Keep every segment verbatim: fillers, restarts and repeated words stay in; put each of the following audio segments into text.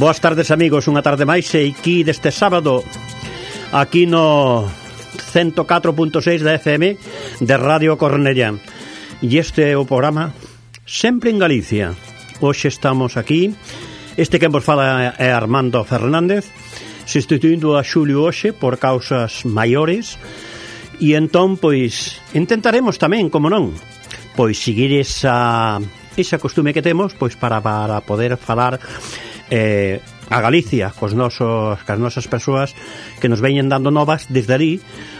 Boas tardes, amigos, unha tarde máis e aquí deste sábado aquí no ciento catro punto seis da F M de Radio Cornellá. E este é o programa Sempre en Galicia. Hoxe estamos aquí. Este que vos fala é Armando Fernández, substituindo a Xulio hoxe por causas maiores. E entón, pois, intentaremos tamén, como non, pois seguir esa, esa costume que temos, pois para, para poder falar eh, a Galicia cos nosos, cas nosas persoas que nos veñen dando novas desde ali,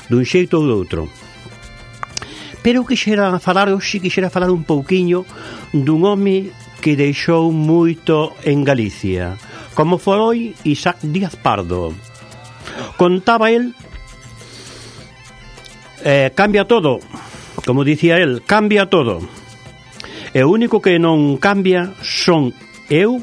dun xeito ou do outro. Pero quixera falar hoxe, quixera falar un pouquiño dun home que deixou moito en Galicia, como foi Isaac Díaz Pardo. Contaba el, eh, cambia todo, como dicía el, cambia todo. E o único que non cambia son eu,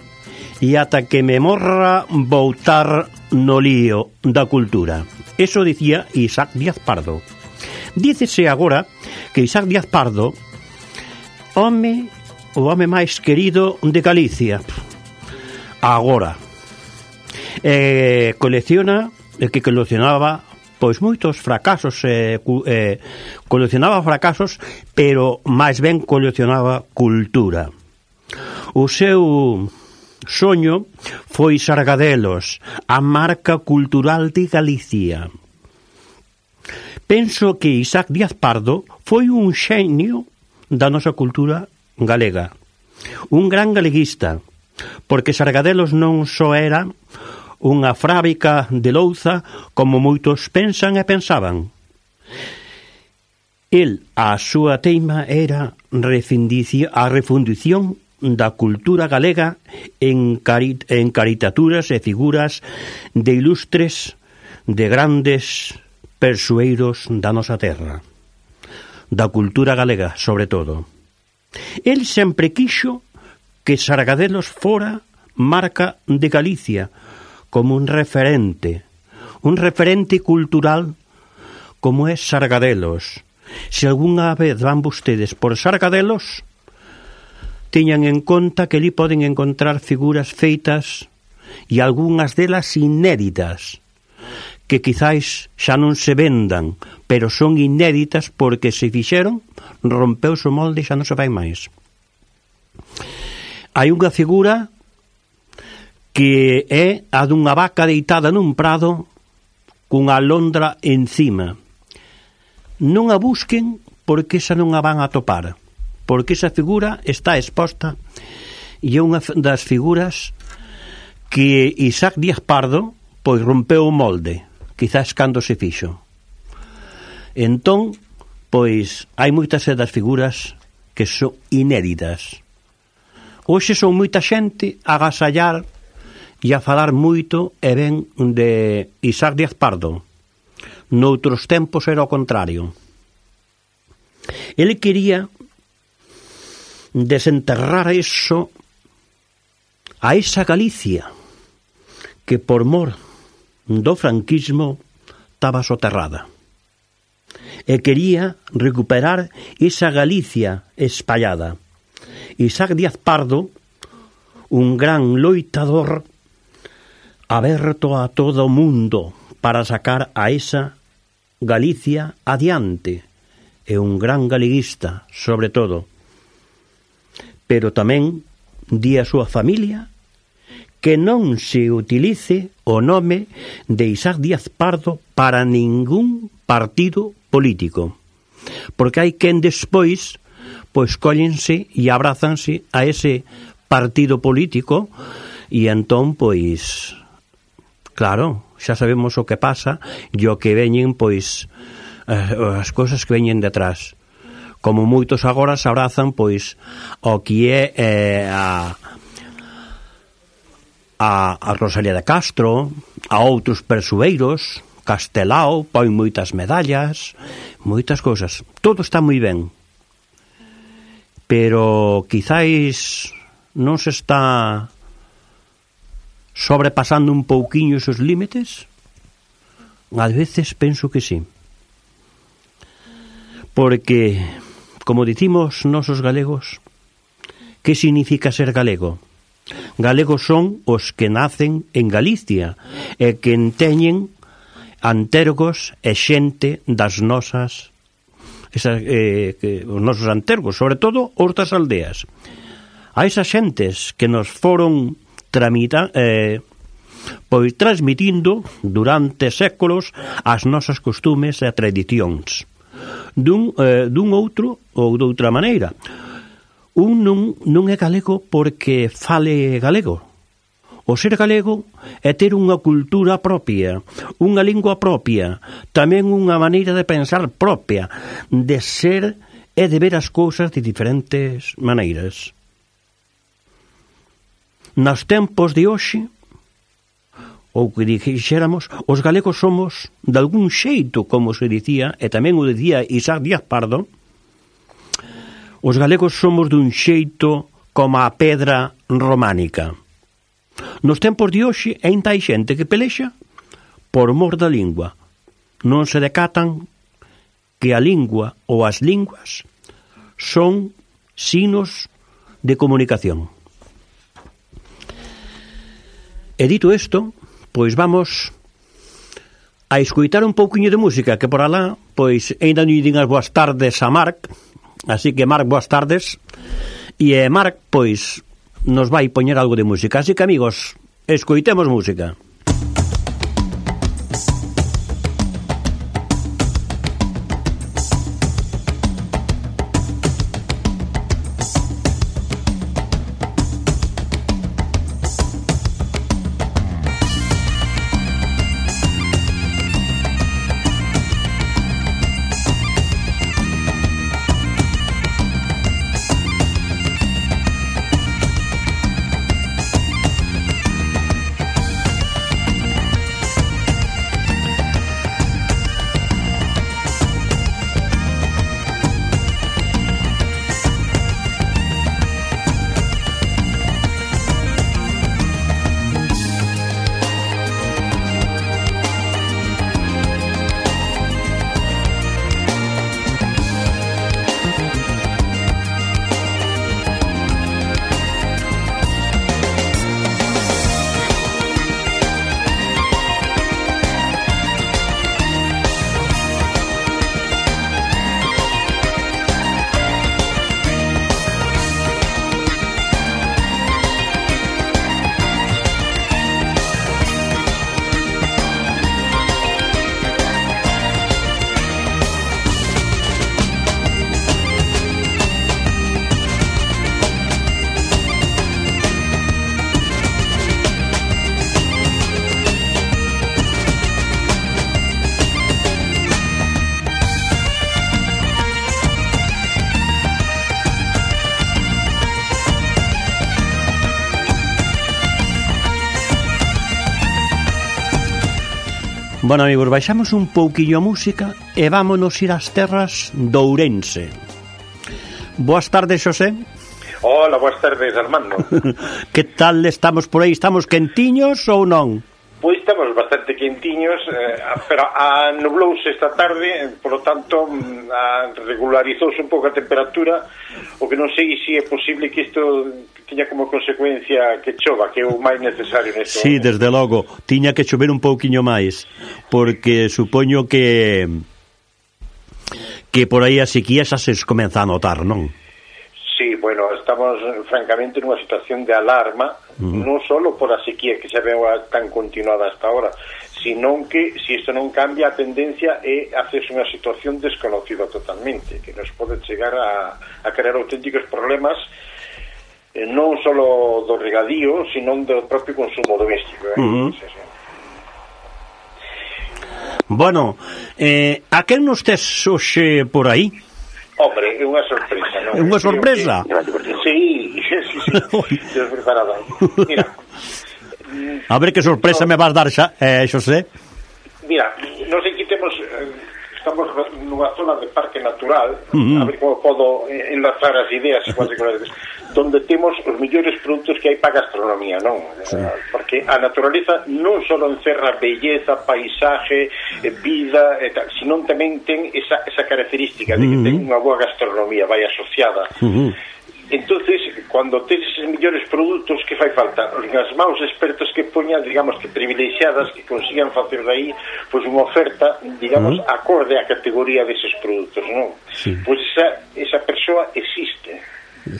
e ata que me morra voltar no lío da cultura. Eso dicía Isaac Díaz Pardo. Dícese agora que Isaac Díaz Pardo, home, o home máis querido de Galicia, agora, eh, colecciona, el que coleccionaba pois moitos fracasos, eh, eh, coleccionaba fracasos, pero máis ben coleccionaba cultura. O seu soño foi Sargadelos, a marca cultural de Galicia. Penso que Isaac Díaz Pardo foi un xenio da nosa cultura galega, un gran galeguista, porque Sargadelos non só era unha fábrica de louza como moitos pensan e pensaban. El, a súa teima era a refundición da cultura galega en, cari en caritaturas e figuras de ilustres, de grandes persoeiros da nosa terra, da cultura galega, sobre todo. El sempre quixo que Sargadelos fora marca de Galicia, como un referente, un referente cultural como é Sargadelos. Se algunha vez van vostedes por Sargadelos, teñan en conta que ali poden encontrar figuras feitas e algunhas delas inéditas, que quizáis xa non se vendan, pero son inéditas porque se fixeron, rompeuse o molde e xa non se vai máis. Hai unha figura que é a dunha vaca deitada nun prado cunha alondra encima. Non a busquen porque esa non a van a topar, porque esa figura está exposta e é unha das figuras que Isaac Díaz Pardo pois rompeu o molde, quizás cando se fixo. Entón, pois hai moitas das figuras que son inéditas. Hoxe son moita xente a agasallar e a falar moito e ben de Isaac Díaz Pardo. Noutros tempos era o contrario. Ele quería desenterrar eso, a esa Galicia que por mor do franquismo estaba soterrada, e quería recuperar esa Galicia espallada. Isaac Díaz Pardo, un gran loitador aberto a todo o mundo para sacar a esa Galicia adiante, e un gran galeguista, sobre todo. Pero tamén di a súa familia que non se utilice o nome de Isaac Díaz Pardo para ningún partido político, porque hai quen despois pois cóllense e abrazanse a ese partido político e entón pois claro, xa sabemos o que pasa e o que veñen pois as cousas que veñen detrás. Como moitos agora se abrazan pois o que é eh, a, a, a Rosalía de Castro, a outros persoeiros, Castelao, pon moitas medallas, moitas cousas. Todo está moi ben. Pero quizáis non se está sobrepasando un pouquiño esos límites? Ás veces penso que sí. Porque, como dicimos nosos galegos, que significa ser galego? galegos son os que nacen en Galicia e que teñen antergos e xente das nosas esas, eh, que, os nosos antergos, sobre todo os das aldeas. A esas xentes que nos foron tramita, eh, pois transmitindo durante séculos as nosas costumes e tradicións dun, eh, dun outro ou de outra maneira. Un non, non é galego porque fale galego. O ser galego é ter unha cultura propia, unha lingua propia, tamén unha maneira de pensar propia, de ser e de ver as cousas de diferentes maneiras. Nos tempos de hoxe, ou que dixéramos, os galegos somos, de algún xeito, como se dicía, e tamén o dicía Isaac Díaz Pardo, os galegos somos dun xeito como a pedra románica. Nos tempos de hoxe, ainda hai xente que pelexa por mor da lingua. Non se decatan que a lingua ou as linguas son signos de comunicación. E dito isto, pois vamos a escoitar un pouquiño de música, que por alá, pois, ainda non din as boas tardes a Marc, así que Marc, boas tardes, e eh, Marc, pois, nos vai poñer algo de música, así que, amigos, escoitemos música. Bueno, amigos, baixamos un pouquiño a música e vámonos ir ás terras de Ourense. Boas tardes, Xosé. Hola, boas tardes, Armando. Que tal estamos por aí? Estamos quentiños ou non? Pois estamos bastante quentiños, eh, pero a nublouse esta tarde, por lo tanto, a regularizouse un pouco a temperatura, o que non sei se é posible que isto tiña como consecuencia que chova, que é o máis necesario nesto. Sí, desde logo, tiña que chover un pouquiño máis, porque supoño que que por aí a sequía xa se comeza a notar, non? Sí, bueno, estamos francamente nunha situación de alarma, uh-huh. non só por a sequía que se veu tan continuada hasta ahora, sino que, se isto non cambia, a tendencia é hacerse unha situación desconocida totalmente, que nos pode chegar a, a crear auténticos problemas, eh, non só do regadío, sino do propio consumo doméstico. Eh? Uh-huh. Sí, sí. Bueno, eh, a quen nos tes hoxe por aí? Hombre, é unha sorpresa, non? É unha sorpresa? Que... Sí, sí, sí, sí. Despreparada. Mira. A ver que sorpresa no... me vas dar xa, eh, Xosé. Mira, nos aquí temos... Estamos nunha zona de parque natural, uh-huh. a ver como podo enlazar as ideas donde temos os mellores produtos que hai para a gastronomía, non? Sí. Porque a naturaleza non só encerra belleza, paisaje, vida, sino tamén ten esa, esa característica de que uh-huh. ten unha boa gastronomía, vai asociada. Uh-huh. entonces, cando tes eses millores produtos, que fai falta? As maus expertos que poñan, digamos, que privilexiadas, que consigan facer dai, pois, unha oferta, digamos, uh-huh. acorde á categoría deses produtos, non? Sí. Pois esa, esa persoa existe.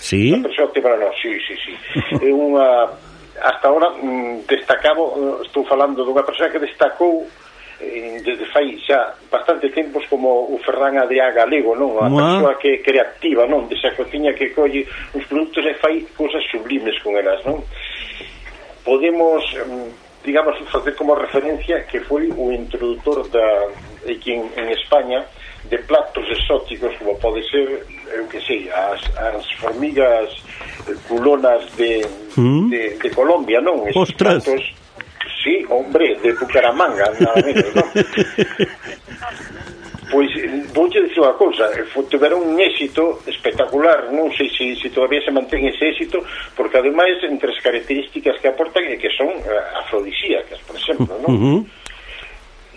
Sí? Esa persoa te para nós, sí, sí, sí. É unha... Hasta ahora, destacado, estou falando dunha persoa que destacou desde fai xa bastante tempos como o Ferran Adrià Galego, non? A persoa que é creativa, non? Desa cociña que colle os produtos e fai cousas sublimes con elas, non? Podemos, digamos, facer como referencia que foi o introductor da, aquí en, en España, de platos exóticos como pode ser, eu que sei, as, as formigas culonas de, ¿Mm? de, de Colombia, non? Esos Ostras! Platos, sí, hombre, de Bucaramanga, nada menos, non? Pois, vouche dicir unha cousa, tiveron un éxito espectacular, non sei se, se todavía se mantén ese éxito, porque ademais, entre as características que aportan é que son uh, afrodisíacas, por exemplo, non? Uh-huh.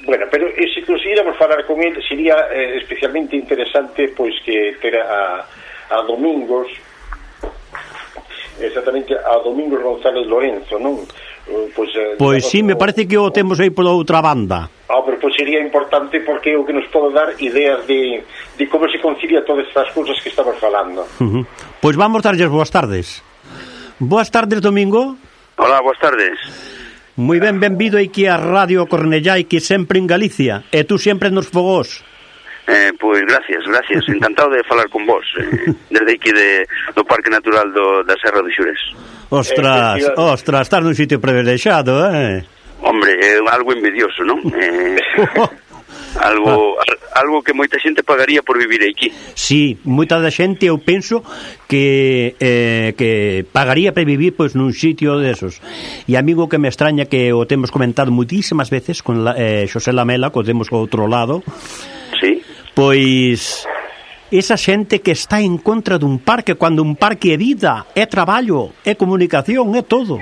Bueno, pero e se conseguíramos falar con ele, sería eh, especialmente interesante, pois, que ter a, a Domingos, exactamente, a Domingos González Lorenzo, non? Pois, eh, pois sí, me parece que o temos aí pola outra banda. Ah, pero pois sería importante porque é o que nos pode dar ideas de, de como se concilia todas estas cousas que estamos falando. Uh-huh. Pois vamos darlles boas tardes. Boas tardes, Domingo. Hola, boas tardes. Moi ben, benvido aquí a Radio Cornellá, que sempre en Galicia, e tú sempre nos fogós. Eh, pois gracias, gracias, encantado de falar con vos eh, desde aquí de, do Parque Natural do, da Serra do Xurés. Ostras, eh, ostras, estás nun sitio privilexiado, eh? Hombre, é eh, algo envidioso, non? Eh, algo algo que moita xente pagaría por vivir aquí. Sí, moita da xente eu penso que eh, que pagaría para vivir pois nun sitio desos. E amigo que me extraña que o temos comentado muitísimas veces con la, eh, Xosé Lamela, que o temos ao outro lado. Sí. Pois esa xente que está en contra dun parque, cando un parque é vida, é traballo, é comunicación, é todo.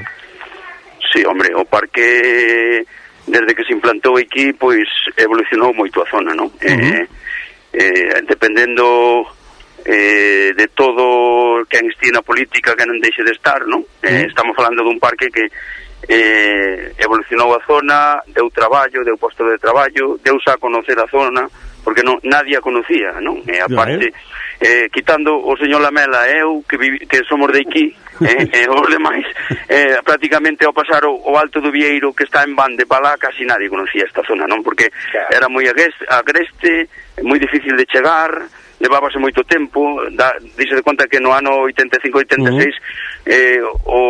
Sí, hombre, o parque desde que se implantou aquí, pois evolucionou moito a zona, non? Uh-huh. Eh, eh, dependendo eh, de todo que estea na política que non deixe de estar, non? Eh, uh-huh. Estamos falando dun parque que eh, evolucionou a zona, deu traballo, deu posto de traballo, deuse a conocer a zona, porque non, nadie a conocía, non? E aparte, eh, quitando o señor Lamela e eu, que, vivi, que somos de aquí, eh, e os demais, eh, prácticamente ao pasar o, o Alto do Vieiro, que está en Bande para lá, casi nadie conocía esta zona, non? Porque era moi agreste, agreste moi difícil de chegar, levábase moito tempo, da, dixe de conta que no ano oitenta e cinco oitenta e seis uh-huh. eh, o,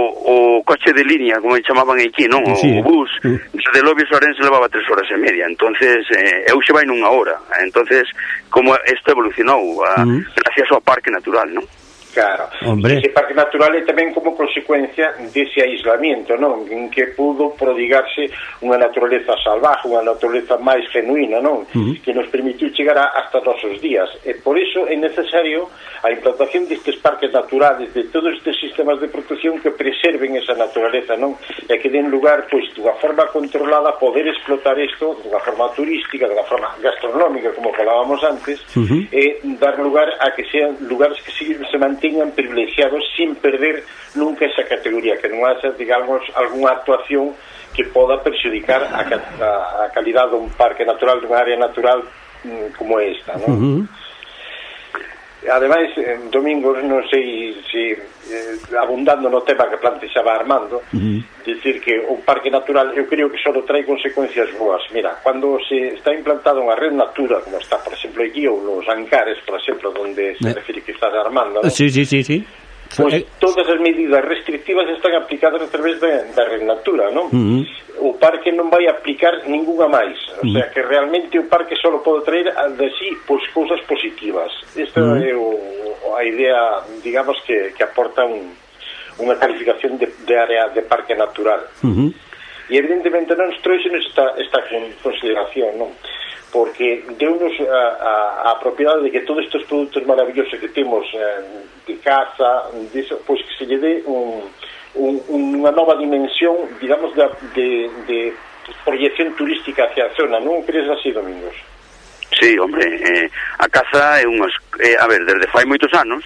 o coche de línea, como chamaban aquí, non? O, sí. o bus, uh-huh. de Lobios a Ourense levaba tres horas e media, entonces eh, eu xe vai nunha hora, entonces como isto evolucionou a, uh-huh. gracias ao Parque Natural, non? Claro, hombre. Ese parque natural é tamén como consecuencia dese aislamiento, non? En que pudo prodigarse unha naturaleza salvaje, unha naturaleza máis genuína, non? Uh-huh. Que nos permitiu chegar a, hasta os nosos días. E por iso é necesario a implantación destes parques naturales, de todos estes sistemas de protección que preserven esa naturaleza, non? E que den lugar, pois, dunha forma controlada a poder explotar isto dunha forma turística, dunha forma gastronómica, como falábamos antes, uh-huh. e dar lugar a que sean lugares que se, se mantengan privilexiados sin perder nunca esa categoría, que non haxa, digamos, algunha actuación que poda perxudicar a, a, a calidad dun parque natural, dunha área natural mm, como esta, non? Uh-huh. Ademais, en Domingos, non sei se eh, abundando no tema que plantexaba Armando, uh-huh. dicir que o parque natural eu creo que só trae consecuencias boas. Mira, cando se está implantada unha red natura, como está, por exemplo, aquí, ou nos Ancares, por exemplo, donde se eh. refire que estás Armando, ¿no? Sí, sí, sí, sí. Pois pues, todas as medidas restrictivas están aplicadas a través de, da red natura, non? Uh-huh. O parque non vai aplicar ninguna máis, o uh-huh. sea que realmente o parque só pode traer de si pois cousas positivas. Esta uh-huh. é o, a idea, digamos, que, que aporta un, unha calificación de, de área de parque natural. Uh-huh. E evidentemente non nos trouxenos esta, esta consideración, non? Porque deu-nos a, a, a propiedade de que todos estes produtos maravillosos que temos eh, de caza, de eso, pois que se lle dé un, un, unha nova dimensión, digamos, de, de, de proyección turística hacia a zona, non crees así, Domingos? Sí, hombre, eh, a caza é unhas, eh, a ver, desde fai moitos anos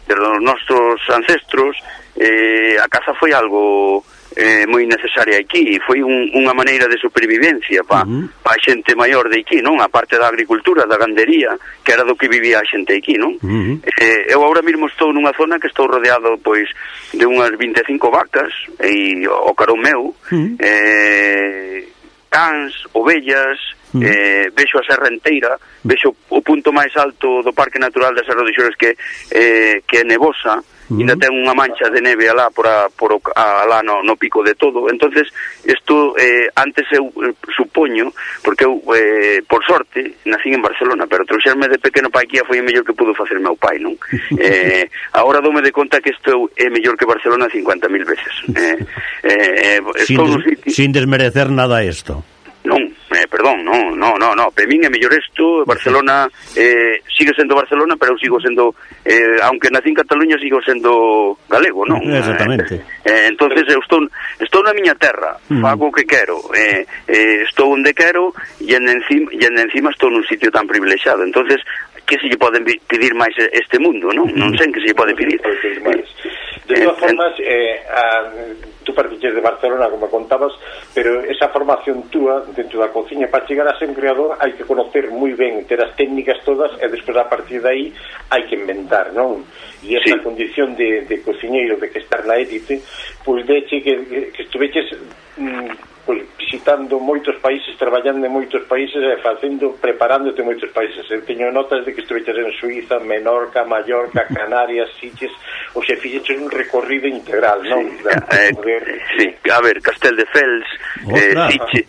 desde os nosos ancestros, eh, a caza foi algo eh, moi necesaria aquí, foi un, unha maneira de supervivencia pa, uh-huh. pa a xente maior de aquí, non? A parte da agricultura, da gandería, que era do que vivía a xente aquí, non? Uh-huh. Eh, eu agora mesmo estou nunha zona que estou rodeado, pois, de unhas vinte e cinco vacas, e o carón meu, uh-huh. eh, cans, ovellas, uh-huh. eh, vexo a serra enteira, vexo o punto máis alto do Parque Natural da Serra dos Xores, que, eh, que é nevosa, Uh-huh. ainda ten unha mancha de neve alá por, a, por o, a, alá no, no pico de todo. Entonces isto eh, antes eu eh, supoño, porque eu eh, por sorte nacín en Barcelona, pero trouxerme de pequeno pa aquí foi o mellor que pudo facer meu pai, non? eh, agora dome de conta que isto é mellor que Barcelona cincuenta mil veces. eh, eh, sin, des, sin desmerecer nada isto. Non, eh, perdón, non, non, non, no. Para min é mellor isto. Barcelona eh, sigue sendo Barcelona, pero eu sigo sendo, eh, aunque nací en Cataluña, sigo sendo galego, non? Exactamente. Eh, eh, entonces eu estou estou na miña terra, mm. fago o que quero, eh, eh, estou onde quero, e en encima, e en encima estou nun sitio tan privilexiado. Entonces, que se lle poden pedir máis este mundo, non? Non sei que se lle pode pedir. De todas formas, eh, a, tú partiches de Barcelona, como contabas, pero esa formación túa dentro da cociña, para chegar a ser un creador hai que conocer moi ben, ter as técnicas todas, e despois a partir de aí hai que inventar, non? E esa sí. condición de, de cociñeiro, de que estar na élite, pois deche que, que estuveches mm, pois, visitando moitos países, traballando en moitos países e facendo, preparándote moitos países. Eu teño notas de que estuveches en Suiza, Menorca, Mallorca, Canarias, Sitges, ou se fixeches un recorrido integral, non? Sí, eh, poder... sí. A ver, Casteldefels, eh, Sitges,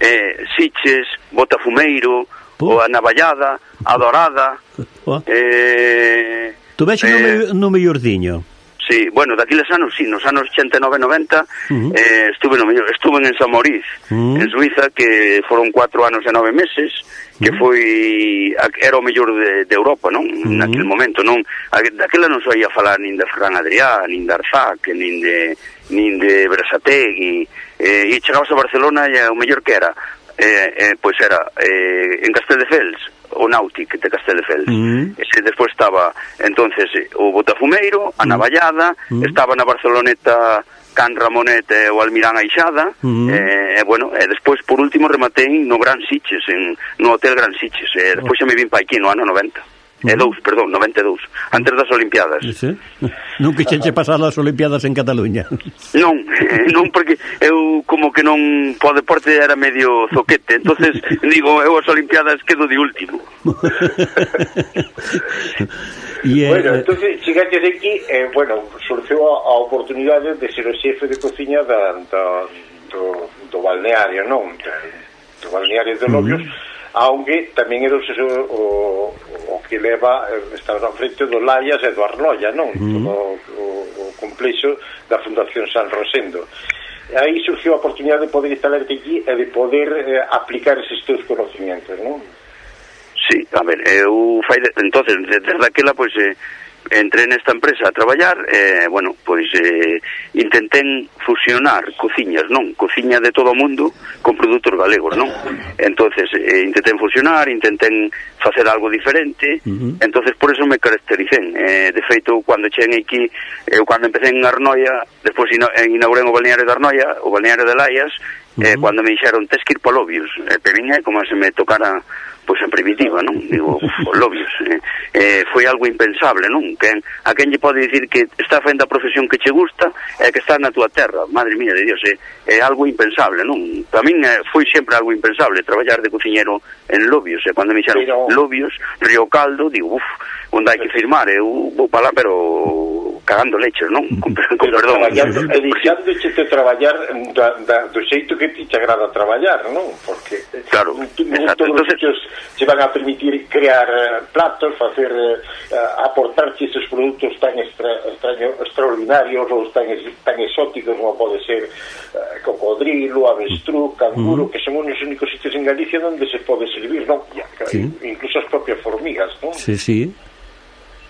eh, Sitges, Botafumeiro, uh. o a Navallada, a Dorada, uh. eh, tu vexe eh, no mellordiño? Sí, bueno, daquiles anos, sí, nos anos ochenta e nove noventa, uh-huh. eh, estuve no mellor, estuve en San Mauriz, uh-huh. en Suiza, que foron cuatro anos e nove meses, que uh-huh. foi, era o mellor de, de Europa, non? Uh-huh. Naquele momento, non? Daquela non soía falar nin de Ferran Adrià, nin de Arzac, nin de, nin de Berasategui, eh, e chegabas a Barcelona e o mellor que era, eh, eh, pois era, eh, en Casteldefels, o Nautic de Casteldefels. Mm. Ese despois estaba entonces o Botafumeiro, a Navallada, mm. estaba na Barceloneta Can Ramonet e o Almirán Aixada, mm. e eh, bueno, e despois por último rematei no Gran Sitges, en, no Hotel Gran Sitges, e despois xa me vin pa aquí no ano noventa. E dous, perdón, noventa e dous, antes das Olimpiadas. Sí? Non quixenche pasar as Olimpiadas en Cataluña? Non, non, porque eu como que non, po deporte era medio zoquete, entonces digo, eu as Olimpiadas quedo de último. Y, eh, bueno, entonces chegaste aquí, eh, bueno, surgiu a, a oportunidade de ser o xefe de cociña da, da, do, do balneario, non? Do balneario de Lobios, uh-huh. aunque tamén era o, o, o que leva, estaba na frente do Laias e do Arnoia, non? Mm. Todo o, o complexo da Fundación San Rosendo. Aí surgiu a oportunidade de poder instalarte aquí e de poder eh, aplicar eses teus conocimientos, non? Sí, a ver, eu fai de, entonces, desde aquela, pois, eh, entré nesta empresa a traballar, eh, bueno, pois eh, intentén fusionar cociñas, non? Cociña de todo o mundo con produtos galegos, non? Entonces, eh, intentén fusionar, intentén facer algo diferente, uh-huh. entonces por eso me caractericén. Eh, de feito, cando cheguei aquí, eu cando empecé en Arnoia, despois inaugurei o balneario de Arnoia, o balneario de Laias, uh-huh. eh, cando me dixeron, tes que ir pa Lobios, eh, pero é como se me tocara pois en primitiva, non? Digo, uf, Lobios, eh, eh, foi algo impensable, non? Que a quen lle pode dicir que está facendo a profesión que che gusta e que está na túa terra, madre mía de Dios, é, é algo impensable, non? Para min eh, foi sempre algo impensable traballar de cociñero en Lobios, e eh, cando me dixeron pero... Lobios, Río Caldo, digo, uf, onde hai que firmar, eu vou para lá, pero cagando leches, non? Con, con perdón. E deixándoche de traballar da, da, do xeito que ti te agrada traballar, non? Porque claro, tu, todos os sitios se van a permitir crear uh, platos, facer uh, aportarche esses produtos tan extra, extraño, extraordinarios ou tan, tan exóticos como pode ser uh, cocodrilo, avestruz, canguro, mm. que son os únicos sitios en Galicia onde se pode servir, non? Sí. Incluso as propias formigas, non? Sí, sí.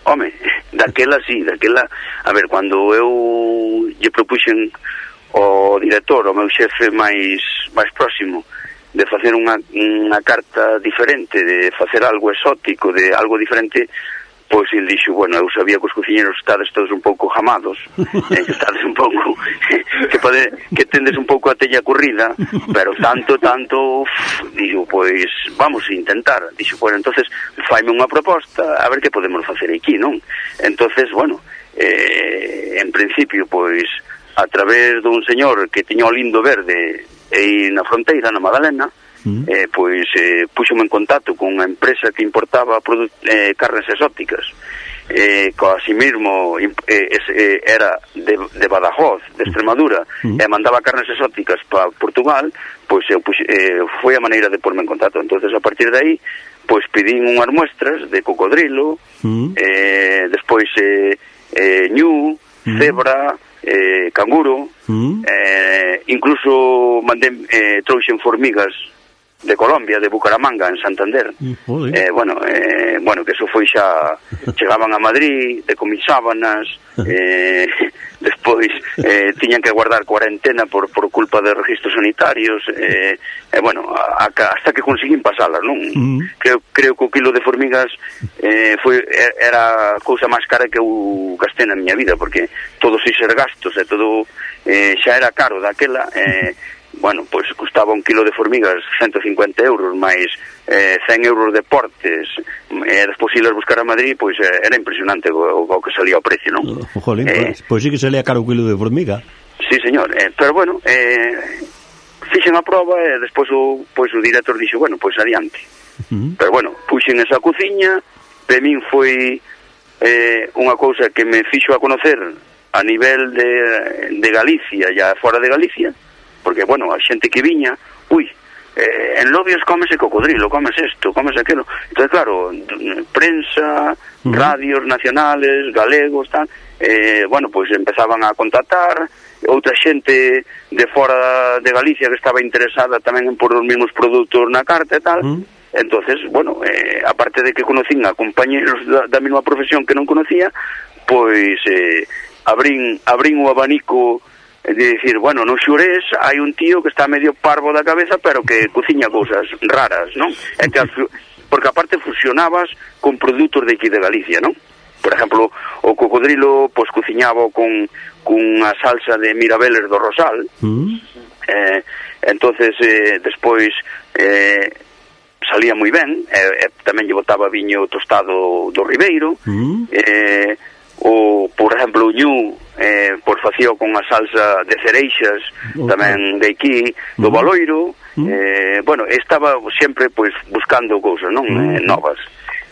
Home, daquela sí, daquela, a ver, cando eu lle propuxen o director, o meu xefe máis máis próximo, de facer unha, unha carta diferente, de facer algo exótico, de algo diferente, pois el dixo, bueno, eu sabía que os cociñeros estades todos un pouco jamados, eh, estades un pouco que pode, que tendes un pouco a tella corrida, pero tanto, tanto uf, dixo, pois vamos a intentar, dixo, bueno, entonces faime unha proposta, a ver que podemos facer aquí, non? Entonces, bueno, eh, en principio, pois a través dun señor que tiña o lindo verde aí na fronteira, na Madalena, mm. eh, pois eh, puxome en contacto con unha empresa que importaba eh, carnes exóticas, eh, co así mesmo eh, eh, era de, de Badajoz, de Extremadura, mm. e mandaba carnes exóticas para Portugal, pois eu pux, eh, foi a maneira de porme en contacto. Entonces a partir de aí, pois pedín unhas muestras de cocodrilo, mm. eh, despois eh, eh, ñu, mm. cebra, eh, canguro, mm. eh, incluso mandé, eh, trouxen formigas de Colombia, de Bucaramanga, en Santander. Mm, eh, bueno, eh, bueno, que eso foi xa, chegaban a Madrid, decomisábanas, eh, despois eh, tiñan que guardar cuarentena por, por culpa de registros sanitarios, eh, eh, bueno, a, a, hasta que conseguín pasalas, non? Mm. Creo, creo que o kilo de formigas eh, foi, era a cousa máis cara que eu gastei na miña vida, porque todos esos gastos e todo eh, xa era caro daquela, eh, bueno, pois pues, custaba un kilo de formigas ciento cincuenta euros, máis eh, cen euros de portes, e eh, despois ilas buscar a Madrid, pois pues, eh, era impresionante o, o que salía o precio, non? Oh, jolín, eh, pois pues sí que salía caro un kilo de formiga. Sí, señor, eh, pero bueno, eh, fixen a prova e despois o, pois, o director dixo, bueno, pois adiante. Uh-huh. Pero bueno, puxen esa cociña, de min foi eh, unha cousa que me fixo a conocer a nivel de, de Galicia e fora de Galicia, porque, bueno, a xente que viña, ui, eh, en Lobios cómese cocodrilo, comes esto, comes aquelo. Entonces, claro, prensa, uh-huh. radios nacionales, galegos, tal, eh, bueno, pois pues empezaban a contactar, outra xente de fora de Galicia que estaba interesada tamén en por os mesmos produtos na carta e tal. Uh-huh. Entonces, bueno, eh, aparte de que conocín a compañeros da, da mesma profesión que non conocía, pois eh, abrín, abrín o abanico de dicir, bueno, no Xurés hai un tío que está medio parvo da cabeza, pero que cociña cousas raras, non? É que, porque aparte fusionabas con produtos de aquí de Galicia, non? Por exemplo, o cocodrilo, pois cociñaba con cunha salsa de mirabeles do Rosal, mm. eh, entonces eh, despois eh, salía moi ben, eh, eh, tamén lle botaba viño tostado do Ribeiro, mm. eh, o, por exemplo, o ñu, eh, por facía con a salsa de cereixas, okay. tamén de aquí, do Baloiro, mm. eh, bueno, estaba sempre, pois, buscando cousas, non? Mm. Eh, novas.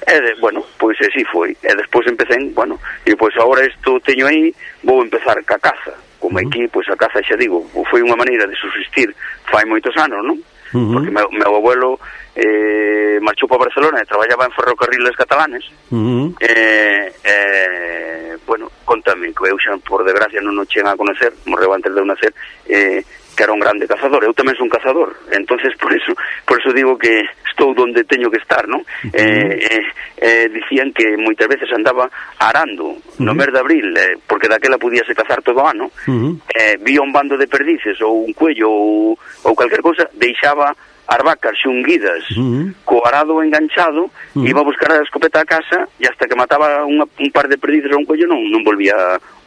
E, de, bueno, pois así foi. E despois empecé, bueno, e pois agora isto teño aí, vou empezar ca caza. Como mm. aquí, pois a caza, xa digo, foi unha maneira de subsistir fai moitos anos, non? Mm-hmm. Porque meu, meu abuelo eh, marchou para Barcelona e traballaba en ferrocarriles catalanes. Mm-hmm. eh, eh, bueno, contame, que eu xa por desgracia non o chegan a conocer, morreu antes de eu nacer, eh, que era un grande cazador. Eu tamén son cazador, entonces por eso por eso digo que estou donde teño que estar, non? Uh-huh. eh, eh, eh, dicían que moitas veces andaba arando uh-huh. no mes de abril, eh, porque daquela podíase cazar todo o ano, uh-huh. eh, vía un bando de perdices ou un cuello ou, ou calquer cousa, deixaba as vacas xunguidas uh-huh. co arado enganchado, uh-huh. iba a buscar a escopeta a casa e hasta que mataba unha, un par de perdices ou un cuello non, non volvía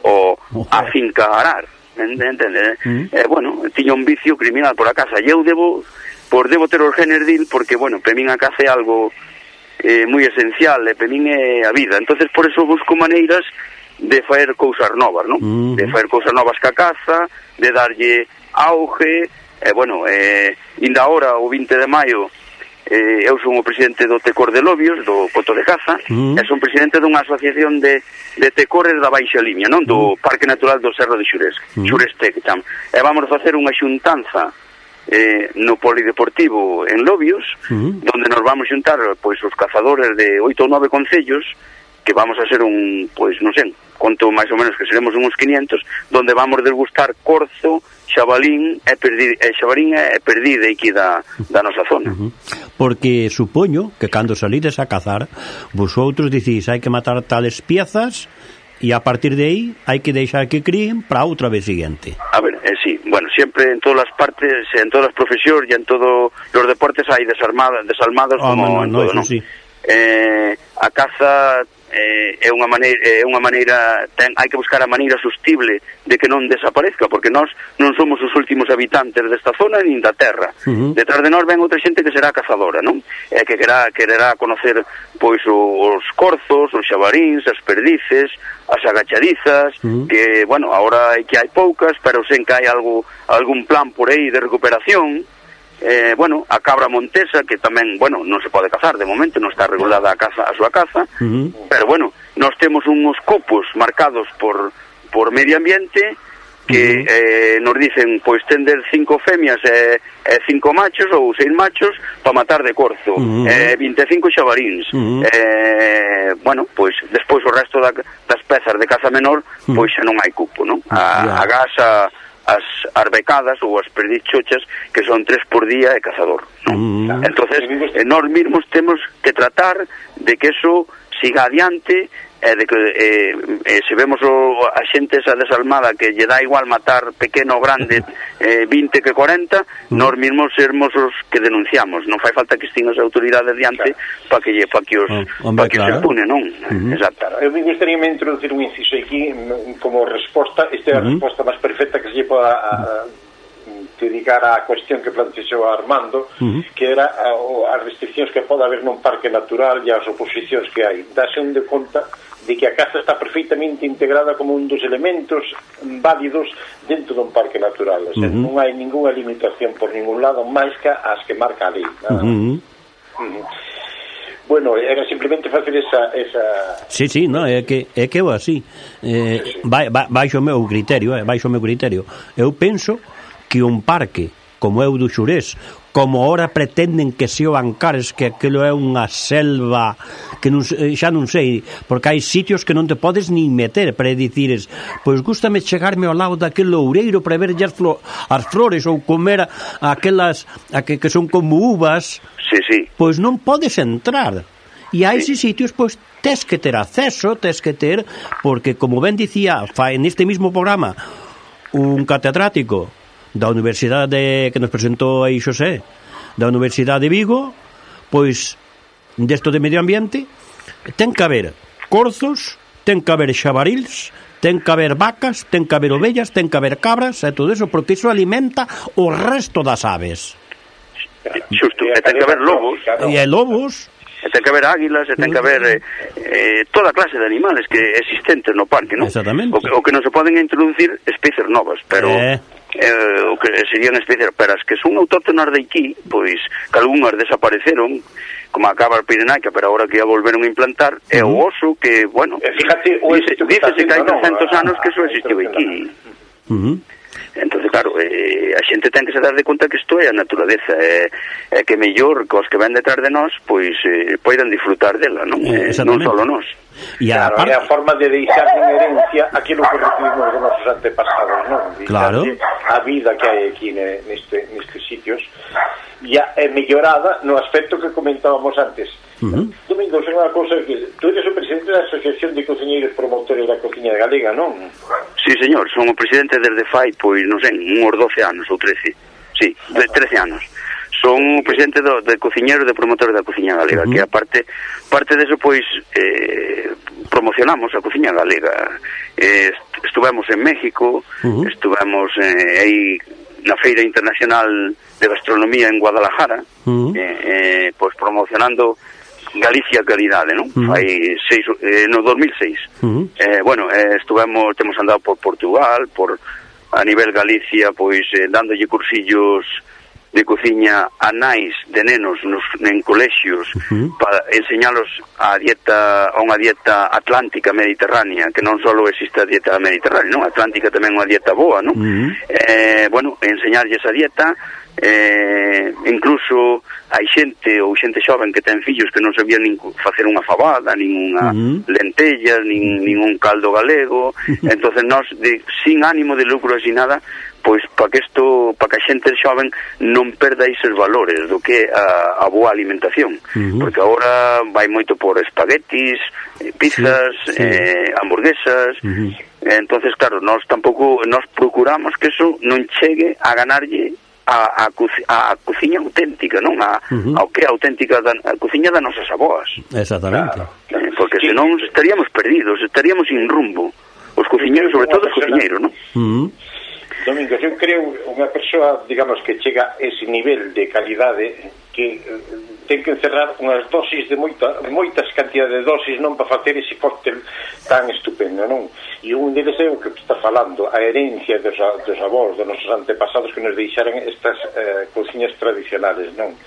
o, uh-huh. a finca a arar. Entende? Mm. Eh, bueno, tiña un vicio criminal por a caza e eu debo, por debo ter os genes dil, porque, bueno, para min a caza é algo eh, moi esencial, e para min é a vida. Entonces por eso busco maneiras de faer cousas novas, non? Mm. De faer cousas novas ca caza, de darlle auge, e, eh, bueno, eh, inda ahora, o vinte de maio, eh, eu son o presidente do Tecor de Lobios, do Coto de Caza, mm. e son presidente dunha asociación de, de tecores da Baixa Limia, non? Do mm. Parque Natural do Cerro de Xurés, mm. Xurés Tec, tam. E vamos facer unha xuntanza eh, no polideportivo en Lobios, mm. donde nos vamos xuntar, pois, os cazadores de oito ou nove concellos, que vamos a ser un, pois, non sei, conto máis ou menos que seremos uns quinientos, donde vamos degustar corzo, xabalín e perdi, e xabalín e perdida aquí da, da nosa zona. Uh-huh. Porque supoño que cando salides a cazar, vosotros dicís hai que matar tales piezas e a partir de aí hai que deixar que críen para outra vez siguiente. A ver, eh, sí, bueno, siempre en todas as partes, en todas as profesións e en todos os deportes hai desarmadas, desalmadas oh, como no, en no, todo, ¿no? ¿no? Sí. eh, a caza eh, é unha maneira, é unha maneira ten, hai que buscar a maneira sostible de que non desaparezca, porque nós non somos os últimos habitantes desta zona nin da terra. Uh-huh. Detrás de nós ven outra xente que será cazadora, non? E que querá, quererá conocer pois os corzos, os xabaríns, as perdices, as agachadizas, uh-huh. que, bueno, agora hai que hai poucas, pero sen que hai algo, algún plan por aí de recuperación. Eh, bueno, a cabra montesa, que tamén, bueno, non se pode cazar de momento, non está regulada a caza, a súa caza, uh-huh. pero bueno, nós temos uns copos marcados por por medio ambiente que uh-huh. eh, nos dicen, pois tender cinco femias e eh, cinco machos ou seis machos para matar de corzo, uh-huh. eh, vinte e cinco xabaríns, uh-huh. eh, bueno, pois despois o resto da, das pezas de caza menor, uh-huh. pois xa non hai cupo, non? A, yeah. a gasa, as arbecadas ou as perdichochas, que son tres por día e cazador, non? Mm. Entonces, eh, nós mesmos temos que tratar de que eso siga adiante, eh, de que eh, eh, se vemos o, a xente esa desalmada que lle dá igual matar pequeno ou grande, eh, vinte que cuarenta, mm. nós mesmos sermos os que denunciamos. Non fai falta que estén as autoridades diante claro. para que, pa que os, oh, pa que claro. os impune, non? Mm-hmm. Exacto. Eu me gustaría me introducir un inciso aquí como resposta. Esta é a mm-hmm. resposta máis perfecta que se lle poda a, a dedicar á cuestión que plantexou Armando, uh-huh. que era a, as restriccións que pode haber nun parque natural e as oposicións que hai. Dase un de conta de que a caza está perfectamente integrada como un dos elementos válidos dentro dun parque natural. O sea, uh-huh. non hai ninguna limitación por ningún lado máis que as que marca a lei. Uh-huh. Uh-huh. Bueno, era simplemente facer esa... esa... Sí, sí, no, é que é que eu así. Eh, sí, sí. Vai, vai, baixo o meu criterio, eh, baixo o meu criterio. Eu penso que un parque como é o do Xurés, como ora pretenden que se o Ancares, que aquilo é unha selva que non, xa non sei, porque hai sitios que non te podes nin meter para dicires, pois gústame chegarme ao lado daquele loureiro para ver as, flo, as flores ou comer aquelas a que, que son como uvas. Sí, sí. Pois non podes entrar. E a eses sitios, pois, tes que ter acceso, tes que ter, porque, como ben dicía, fa en este mismo programa, un catedrático da Universidade que nos presentou aí Xosé, da Universidade de Vigo, pois desto de medio ambiente, ten que haber corzos, ten que haber xabarils, ten que haber vacas, ten que haber ovellas, ten que haber cabras e todo eso, porque iso alimenta o resto das aves. Xusto, e ten que haber lobos. E hai lobos. E ten que haber águilas, e ten que haber eh, eh, toda clase de animales que existentes no parque, non? Exactamente. O que, o que non se poden introducir especies novas, pero... Eh. Eh, o que serían especies, pero as que son autóctonas de aquí, pois que algunhas desapareceron, como a cabra pirenaica, pero agora que a volveron a implantar, é uh-huh. o oso que, bueno, fíjate, dice, dícese que hai trescentos anos que eso existiu aquí. Uh-huh. Entonces, claro, eh, a xente ten que se dar de conta que isto é a naturaleza, é eh, eh, que mellor que os que ven detrás de nós, pois eh, poidan disfrutar dela, non? Eh, non solo nós. E a, claro, parte... é a forma de deixar en herencia aquilo que recibimos de nosos antepasados, non? Claro. A vida que hai aquí neste, nestes sitios ya é mellorada no aspecto que comentábamos antes. Uh-huh. Domingos, é unha cousa que tú eres o presidente da Asociación de Cociñeiros Promotores da Cociña Galega, non? Sí, señor, son o presidente desde fai, pois, non sei, uns doce anos ou trece. Sí, de trece anos. Son o presidente do, de cociñeiros de promotores da Cociña Galega, uh-huh. que aparte parte deso, pois, eh, promocionamos a Cociña Galega. Eh, estuvemos en México, uh-huh. estuvemos eh, aí na Feira Internacional de Gastronomía en Guadalajara, uh-huh. eh, eh, pois promocionando Galicia Calidade, non? Uh-huh. Fai seis, eh, no dos mil seis. Uh-huh. Eh, bueno, eh, estuvemos, temos andado por Portugal, por a nivel Galicia, pois eh, dándolle cursillos de cociña a nais de nenos nos, en colexios, uh-huh. para enseñalos a dieta, a unha dieta atlántica mediterránea, que non só existe a dieta mediterránea, non? Atlántica tamén é unha dieta boa, non? Uh-huh. Eh, bueno, enseñarlle esa dieta, eh, incluso hai xente ou xente xoven que ten fillos que non sabían nin facer unha fabada, nin unha uh-huh. lentella, nin, nin un caldo galego. Entonces nós, de, sin ánimo de lucro así nada, pois para que isto, para que a xente xoven non perda esos valores do que a, a boa alimentación, uh-huh. porque agora vai moito por espaguetis, pizzas, sí, sí. Eh, hamburguesas. Uh-huh. Entonces, claro, nós tampouco, nós procuramos que eso non chegue a ganarlle a, a, a cociña auténtica, non? A, uh-huh. ao que é auténtica da, a cociña das nosas avós. Exactamente. Eh, porque sí. senón estaríamos perdidos, estaríamos sin rumbo. Os cociñeiros, sobre todo os cociñeiros, non? Uh-huh. Domingos, eu creo unha persoa, digamos, que chega a ese nivel de calidade que ten que encerrar unhas dosis de moita, moitas cantidades de dosis non para facer ese cóctel tan estupendo, non? E un deles é o que está falando, a herencia dos, dos avós, dos nosos antepasados que nos deixaran estas eh, cociñas tradicionales, non?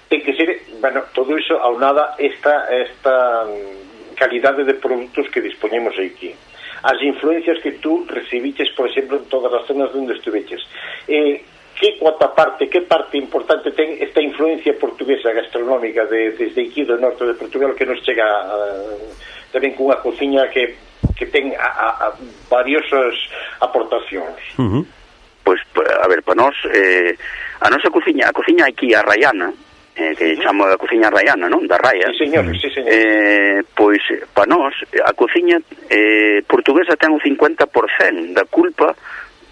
Ten que ser, bueno, todo iso aunada esta, esta calidade de produtos que dispoñemos aquí. As influencias que tú recibiches, por exemplo, en todas as zonas onde estuveches. Eh, que cuota parte, que parte importante ten esta influencia portuguesa gastronómica de, desde aquí do norte de Portugal que nos chega uh, tamén cunha cociña que, que ten a, a, a variosas aportacións? Uh-huh. Pois, a ver, para nós, eh, a nosa cociña, a cociña aquí a raiana, eh, que chamo a cociña raiana, non? Da raia. Sí, señor, sí, señor. Eh, pois, para nós, a cociña eh, portuguesa ten o cincuenta por cento da culpa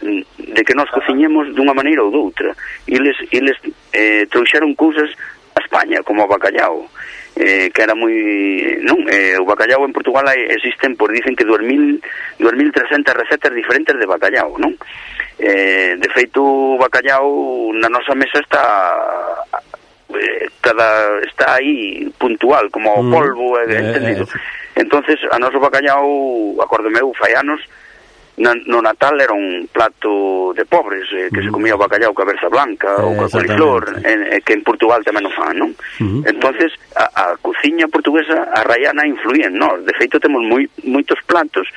de que nós cociñemos dunha maneira ou doutra. Eles, eles eh, trouxeron cousas a España, como o bacallao, eh, que era moi... non, eh, o bacallao en Portugal existen, por dicen que dous mil trescentas recetas diferentes de bacallao, non? Eh, de feito, o bacallao na nosa mesa está... cada está aí puntual como o polvo, mm, entendido. Eh, eh. Entonces, a noso bacallao, acordo meu, fai anos, no Natal era un plato de pobres, eh, que uh-huh. se comía o bacallao ca berza blanca eh, ou ca coliflor, eh, que en Portugal tamén o fan, non? Uh-huh. Entonces, a, a cociña portuguesa, a raiana, influía en nós. De feito, temos moi, moitos platos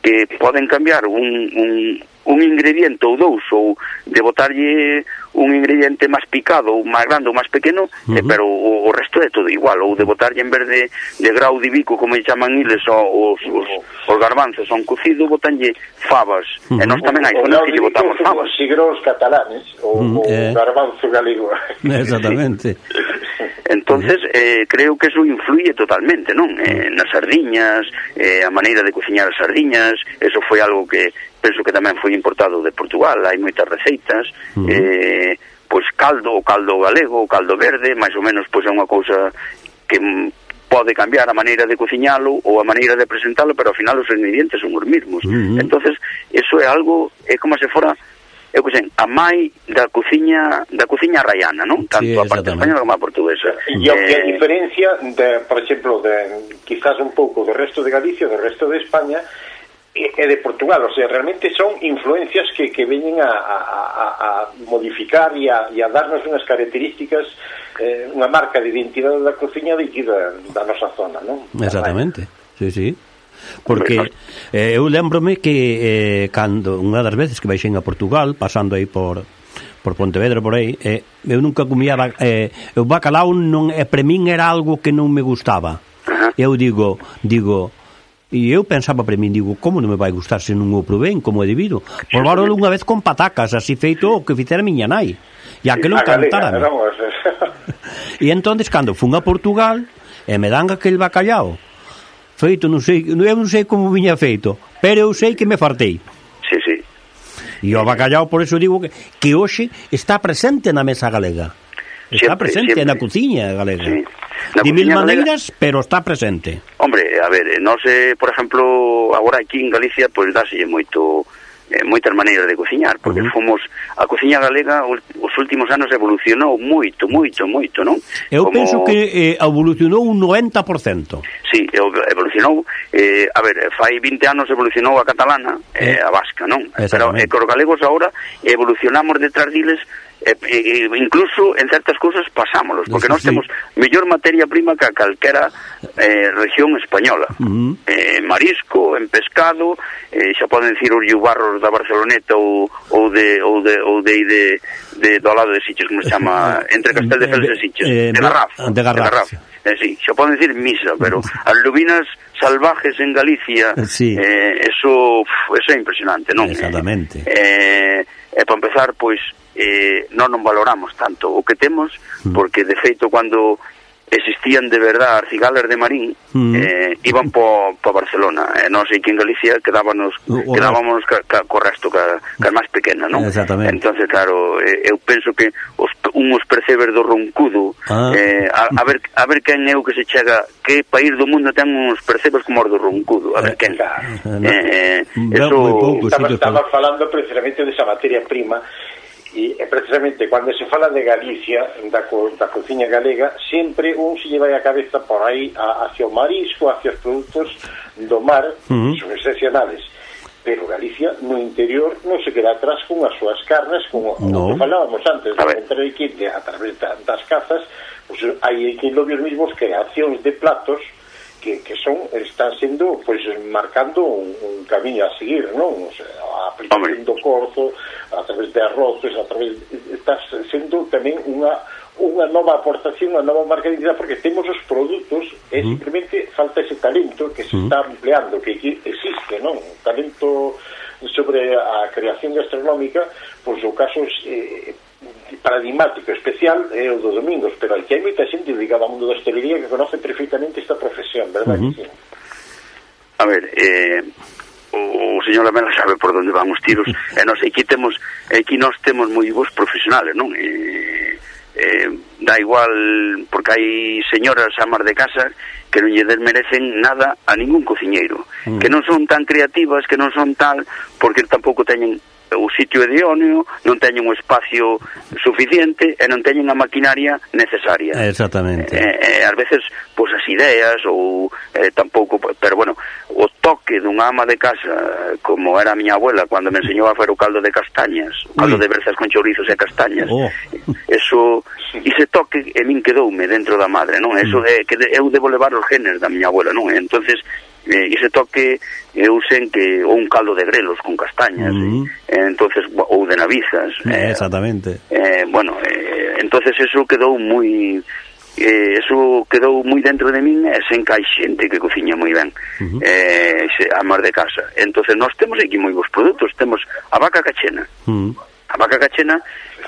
que poden cambiar un, un, un ingrediente ou dous, ou de botarlle un ingrediente máis picado, ou máis grande ou máis pequeno, uh-huh. eh, pero o, o resto é todo igual, ou de botarlle en vez de, de grau de bico, como chaman eles, os, os, os garbanzos, son cocido, botanlle fabas, uh-huh. e nós tamén hai zonas que lle botamos fabas. Os sigros catalanes, ou uh-huh. o eh. garbanzo galego. Exactamente. Entonces, eh, creo que eso influye totalmente, non? Eh, nas sardiñas, eh, a maneira de cociñar as sardiñas, eso foi algo que penso que tamén foi importado de Portugal, hai moitas receitas, uh-huh. eh, pois caldo, o caldo galego, o caldo verde, máis ou menos pois é unha cousa que pode cambiar a maneira de cociñalo ou a maneira de presentalo, pero ao final os ingredientes son os mesmos. Uh-huh. Entonces, eso é algo, é como se fora eu que sei, a mai da cociña da cociña raiana, non? Tanto sí, a parte española como a portuguesa. E eh... a diferencia, de, por exemplo, de quizás un pouco do resto de Galicia, do resto de España, e de Portugal, o sea, realmente son influencias que, que veñen a, a, a modificar e a, e a darnos unhas características, eh, unha marca de identidade da cociña de aquí da, da nosa zona, non? Exactamente, sí, sí. Porque eh, eu lembrome que eh, cando unha das veces que baixen a Portugal, pasando aí por por Pontevedra, por aí, eh, eu nunca comía eh, o bacalao non, eh, para min era algo que non me gustaba. Eu digo, digo e eu pensaba para min, digo, como non me vai gustar se non o provén, como é debido? Probaron unha vez con patacas, así feito o que fixera miña nai, e aquilo encantara. E entonces, cando fun a Portugal e me dan aquel bacalao feito, non sei, eu non sei como viña feito, pero eu sei que me fartei. Sí, sí. E o bacalao, por eso digo que, que hoxe está presente na mesa galega. Está siempre, presente siempre. Na cociña galega. Sí. De mil maneiras, galega, pero está presente. Hombre, a ver, non sei, por exemplo, agora aquí en Galicia, pois pues, dáselle moito eh, moitas maneiras de cociñar, porque uh-huh. fomos a cociña galega os últimos anos evolucionou moito, moito, moito, non? Eu Como... penso que eh, evolucionou un noventa por cento. Sí, evolucionou, eh, a ver, fai vinte anos evolucionou a catalana, eh, eh, a vasca, non? Pero eh, cos galegos agora evolucionamos detrás diles. Eh, eh, incluso en certas cousas pasámolos, porque nós sí. temos mellor materia prima que a calquera eh, región española. Uh-huh. eh, marisco, en pescado, eh, xa poden dicir os yubarros da Barceloneta ou, ou de ou de ou de, de, de do lado de Sitges, como se chama, entre Casteldefels e Sitges, eh, de Garraf, de Garraf. Eh, sí, xa poden dicir misa, pero as lubinas salvajes en Galicia, sí. eh, eso, eso é impresionante, non? Exactamente. Eh, e para empezar, pois eh, non non valoramos tanto o que temos, porque de feito cando existían de verdad as cigalas de Marín, mm. eh, iban po, po Barcelona, e eh, non sei que en Galicia quedábamos uh, quedábamos ca, ca, co resto, ca, ca máis pequena, non? Exactamente. Entonces, claro, eh, eu penso que os, unhos percebes do roncudo, ah. eh, a, a ver a ver quen é o que se chega, que país do mundo ten uns percebes como os do roncudo, a ver quen. Eh, eh, eso pouco, estaba, sí, estaba falando precisamente desa materia prima. E precisamente cando se fala de Galicia, da, co, da cociña galega, sempre un se lleva a cabeza por aí a, hacia o marisco, hacia os produtos do mar, uh-huh. son excepcionales. Pero Galicia, no interior, non se queda atrás con as súas carnes, como no. o que falábamos antes, de entrar aquí de, a través da, das cazas, pues, hai aquí lobios mismos creacións de platos que, que son, están sendo, pues, marcando un, un camiño a seguir, non? O sea, a aplicación do corzo, a través de arroces, a través está sendo tamén unha unha nova aportación, unha nova marca de identidade, porque temos os produtos e uh-huh. simplemente falta ese talento que se uh-huh. está empleando, que existe, non? Un talento sobre a creación gastronómica, pois o caso é eh, paradigmático, especial é o do Domingos, pero aquí hai moita xente dedicada ao mundo da hostelería que conoce perfectamente esta profesión, verdad uh-huh. que sí? A ver, eh o señor Lamela sabe por onde van os tiros, e nós aquí temos, aquí nós temos moi bons profesionales, non? E, eh, dá igual, porque hai señoras amas de casa que non lle desmerecen nada a ningún cociñeiro, mm. que non son tan creativas, que non son tal, porque tampouco teñen o sitio idóneo, non teñen un espacio suficiente e non teñen a maquinaria necesaria. Exactamente. Eh, eh, ás veces, pois, as ideas ou eh, tampouco, pero bueno, o toque dunha ama de casa, como era a miña abuela cando me enseñou a fer o caldo de castañas, o caldo Uy. de berzas con chourizos e castañas, oh. eso, ese toque e min quedoume dentro da madre, non? Eso é que eu debo levar os genes da miña abuela, non? Entonces, eh, ese toque eu sen que ou un caldo de grelos con castañas, mm. eh, entonces ou de navizas, eh, exactamente. Eh, bueno, eh, entonces eso quedou moi eh, eso quedou moi dentro de min, e sen que hai xente que cociña moi ben, uh-huh. eh, a mar de casa. Entonces nós temos aquí moi bons produtos, temos a vaca cachena. Uh-huh. A vaca cachena,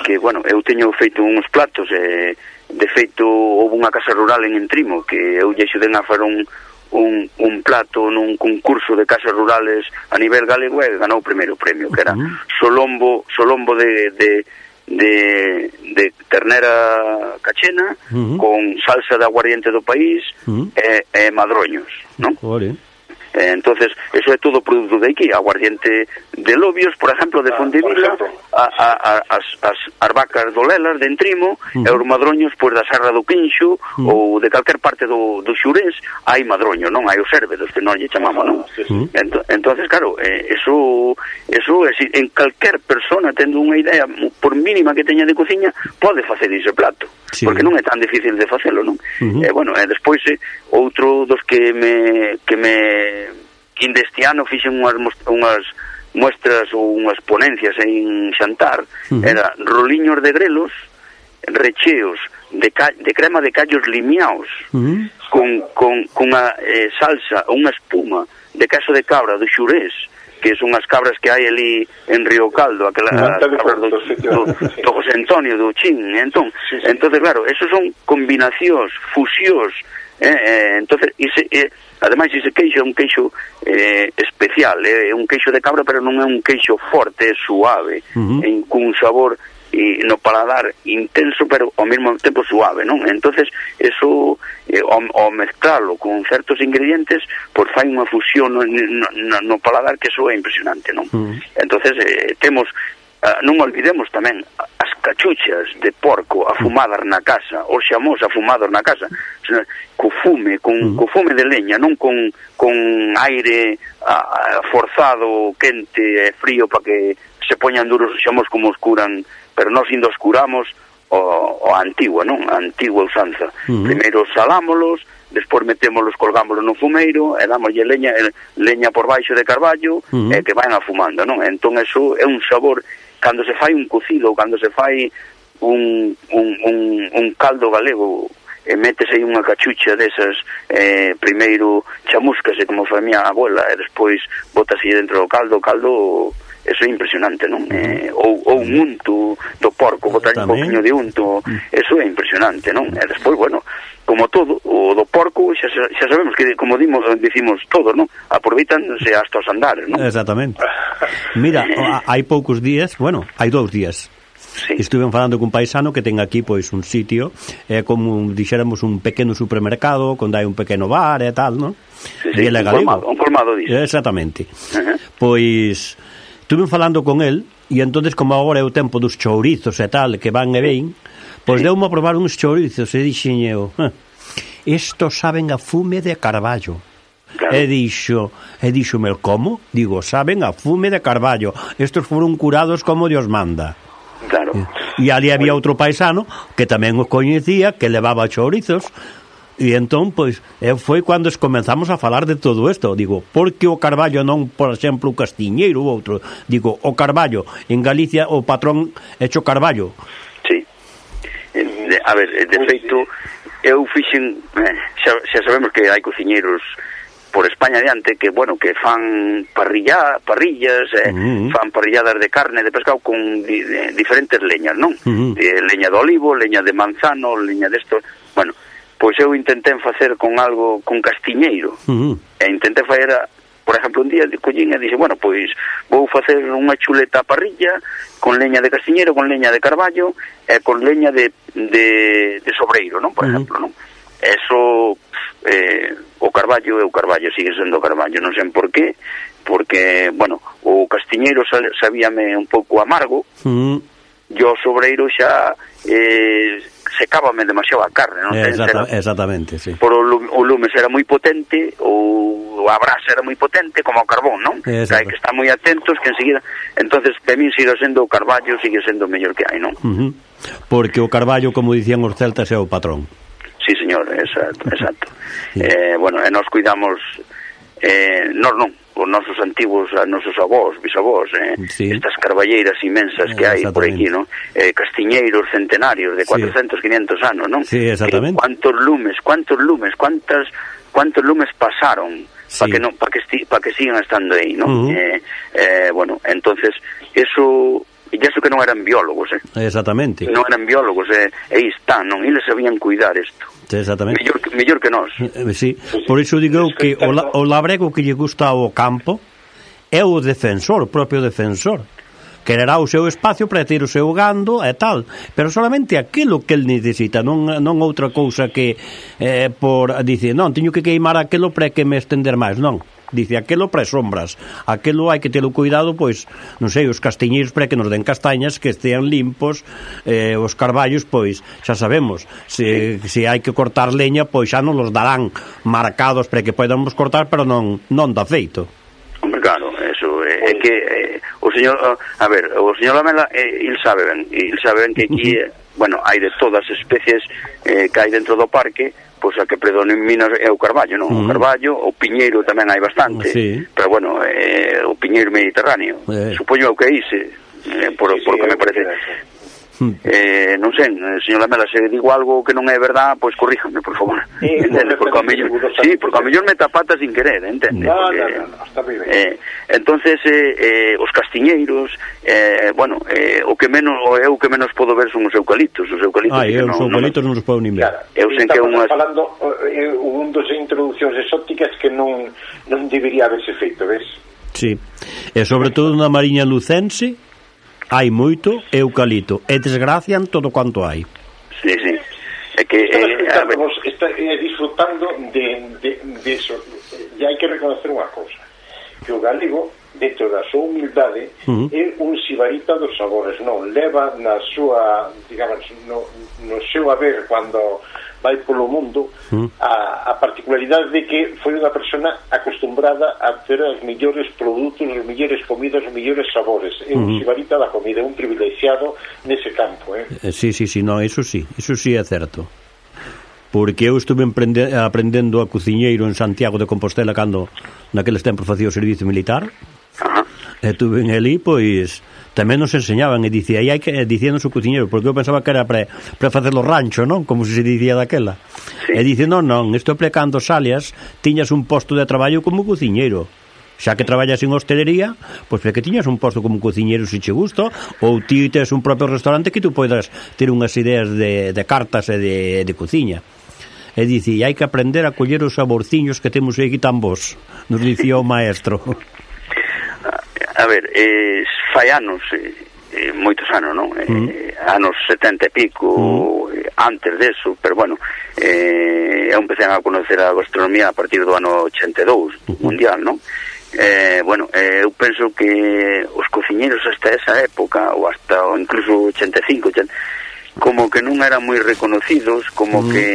que, bueno, eu teño feito uns platos, eh, de feito houve unha casa rural en Entrimo que eu lle xuden a fer un Un, un plato nun concurso de casas rurales a nivel galego e ganou o primeiro premio, que era uh-huh. solombo solombo de, de, de, de ternera cachena uh-huh. con salsa de aguardiente do país uh-huh. e, e madroños, non? Vale. Eh, entonces, eso é todo produto de aquí, aguardiente de lobios, por exemplo, de Fontevila, a, a, a, as, as, as vacas do Lelas, de Entrimo, uh-huh. e os madroños, pois, da Serra do Quinxo, uh-huh. ou de calquer parte do, do Xurés, hai madroño, non? Hai os sérvedos, que non lle chamamos, non? Uh-huh. Ento, entonces, claro, eh, eso, eso é, en calquer persona, tendo unha idea, por mínima que teña de cociña, pode facer ese plato, sí. porque non é tan difícil de facelo, non? Uh-huh. E, bueno, e despois, eh, outro dos que me... que me Inde este ano fixen unhas, unhas muestras ou unhas ponencias en Xantar, uh-huh. era roliños de grelos recheos de, ca, de crema de callos limiaos, uh-huh. con, con, con unha eh, salsa ou unha espuma de queso de cabra do Xurés, que son as cabras que hai ali en Río Caldo, aquelas ah, cabras do, do, do José Antonio, do Chin, entón, sí, sí. entonces claro, esos son combinacións, fusións, eh, eh, entonces, ese, eh, ademais ese queixo é un queixo eh, especial, é eh, un queixo de cabra, pero non é un queixo forte, é suave, uh-huh. en, con un sabor e no paladar intenso, pero ao mesmo tempo suave, non? Entonces, eso, eh, ao, ao mezclalo con certos ingredientes, pois fai unha fusión no, no, no paladar que eso é impresionante, non? Uh-huh. Entonces, eh, temos, uh, non olvidemos tamén as cachuchas de porco afumadas na casa, os xamós afumados na casa, co fume, con, uh-huh. co fume de leña, non con, con aire uh, forzado, quente e frío para que se poñan duros os xamós como os curan, pero nós indo os curamos o, o antigua, non? A antigua usanza. Uh-huh. Primeiro salámolos, despois metémolos, colgámolos no fumeiro e dámoslle leña, leña por baixo de carballo, uh-huh. e que van afumando, non? Entón, eso é un sabor, cando se fai un cocido, cando se fai un, un, un, un caldo galego, e metes aí unha cachucha desas, eh, primeiro chamuscase como foi a miña abuela, e despois botase dentro do caldo, o caldo eso é impresionante, non? Eh, ou, ou un unto do porco, botar un poquinho de unto, eso é impresionante, non? E despois, bueno, como todo, o do porco xa, xa sabemos que, como dimos, dicimos todos, non? Aproveitanse hasta os andares, non? Exactamente. Mira, hai poucos días, bueno, hai dous días, sí. Estuven falando cun paisano que ten aquí pois un sitio, é eh, como dixéramos un pequeno supermercado, onde hai un pequeno bar e tal, non? Sí, sí, un colmado, un colmado disso. Exactamente. Uh-huh. Pois estuve falando con el e entonces como agora é o tempo dos chourizos e tal, que van e ven, pois sí. Deu-me a probar uns chourizos e dixen eu, estos saben a fume de carballo. Claro. E dixo, e dixo-me, como? Digo, saben a fume de carballo. Estos foron curados como Dios manda. Claro. E ali había outro paisano que tamén os coñecía, que levaba chourizos. E entón, pois, foi cando comenzamos a falar de todo isto. Digo, por que o carballo non, por exemplo, o castiñeiro ou outro? Digo, o carballo, en Galicia o patrón hecho carballo. Sí. A ver, de feito, eu fixen, xa, xa sabemos que hai cociñeiros por España adiante que, bueno, que fan parrilla, parrillas, eh, uh-huh. fan parrilladas de carne, de pescado con di, de, diferentes leñas, non? Uh-huh. Eh, leña de olivo, leña de manzano, leña de esto, bueno... Pois eu intentei facer con algo, con castiñeiro, uh-huh. e intentei facer, por exemplo, un día de collín e dixe, bueno, pois vou facer unha chuleta a parrilla con leña de castiñeiro, con leña de carballo e con leña de, de, de sobreiro, non? Por uh-huh. exemplo, non? Eso, eh, o carballo é o carballo, sigue sendo o carballo, non sei por qué, porque, bueno, o castiñeiro sabíame un pouco amargo, uh-huh. e o sobreiro xa... Eh, secábame demasiado a carne, non? Exacta, exactamente, sí. Por o, o lumes era moi potente, ou a brasa era moi potente, como o carbón, non? Que hai que estar moi atentos, que enseguida... Entonces, para mí sigue sendo o carballo, sigue sendo o mellor que hai, non? Uh-huh. Porque o carballo, como dicían os celtas, é o patrón. Sí, señor, exacto, exacto. Sí. Eh, bueno, e nos cuidamos... Eh, nós non, os nosos antigos, os nosos avós, bisavós, eh, sí. Estas carballeiras inmensas que hai por aquí, non? Eh, castiñeiros centenarios de cuatrocentos, sí. quinientos anos, non? Sí, exactamente. Eh, cuántos lumes, cuántos lumes, cuántas cuántos lumes pasaron sí. para que non para que esti, para que sigan estando aí, non? Uh-huh. Eh, eh, bueno, entonces eso e iso que non eran biólogos, eh. Exactamente. Non eran biólogos, eh, e aí están, non? Eles sabían cuidar isto. Exactamente. Mellor, mellor que nós. Eh, sí. Por iso digo que o, la, o labrego que lle gusta ao campo é o defensor, o propio defensor. Quererá o seu espacio para ter o seu gando e tal, pero solamente aquilo que el necesita, non non outra cousa que eh, por dice, non, teño que queimar aquilo para que me estender máis, non. Dice, aquelo para sombras, aquelo hai que telo cuidado, pois, non sei, os castiñeiros para que nos den castañas que estean limpos, eh, os carballos, pois, xa sabemos, se, se hai que cortar leña, pois xa non los darán marcados para que podamos cortar, pero non non dá feito. Hombre, claro, eso é, é que eh, o señor, a ver, o señor Lamela, eh, il sabe ben, il sabe ben que aquí, eh, bueno, hai de todas as especies eh, que hai dentro do parque, pois a que predomina é o carballo, non? Uh-huh. O carballo, o piñeiro tamén hai bastante, sí. Pero bueno, eh, o piñeiro mediterráneo, eh. Supoño que é ise, eh, por, sí, por sí, que me parece. Eh, non sei, señor Lamela, se digo algo que non é verdad, pois corríjame, por favor. Sí, entende? Porque ao mellor, sí, porque ao mellor me tapata sin querer, entende? No, porque, no, no, está moi ben. Eh, entonces, eh, eh, os castiñeiros, eh, bueno, eh, o que menos, o eu que menos podo ver son os eucaliptos, os eucaliptos. Ah, eu os eucaliptos non os podo nin ver. Claro, eu sei que unhas... falando eh, un dos introducións exóticas que non non debería haberse feito, ves? Sí. E sobre todo na Mariña Lucense hai moito eucalipto e desgracian todo quanto hai. Sí, sí. É que eh, estamos está, eh, disfrutando de, de, de eso. E hai que reconocer unha cousa, que o galego, dentro da súa humildade, uh-huh. é un sibarita dos sabores, non leva na súa, digamos, no, no seu haber cando vai polo mundo uh-huh. a, a particularidade de que foi unha persona acostumbrada a ter os mellores produtos, os mellores comidas, os mellores sabores. É un uh-huh. sibarita da comida, é un privilexiado nese campo, eh? Eh, sí, sí, sí, no, eso sí, eso sí é certo. Porque eu estuve emprende, aprendendo a cociñeiro en Santiago de Compostela cando naqueles tempos facía o servizo militar. Uh-huh. E tuve en ali, pois tamén nos enseñaban e dicía, aí hai que dicíanos o cociñeiro, porque eu pensaba que era para para facer o rancho, non? Como se dicía daquela. Sí. E dice, non, non, isto é para cando salias tiñas un posto de traballo como cociñeiro. xa que traballas en hostelería, pois pues, que tiñas un posto como cociñeiro se che gusta, ou ti tes un propio restaurante que tú podes ter unhas ideas de, de cartas e de, de cociña. E dice, hai que aprender a coller os saborciños que temos aquí tan bons, nos dicía o maestro. A ver, eh, fai anos, eh, moitos anos, non? Eh, mm. Anos setenta e pico, mm. antes deso, pero bueno, eh, eu empecé a conocer a gastronomía a partir do ano ochenta e dous, mm. mundial, non? Eh, bueno, eh, eu penso que os cociñeiros hasta esa época, ou hasta ou incluso ochenta e cinco, ochenta, como que non eran moi reconocidos, como mm. que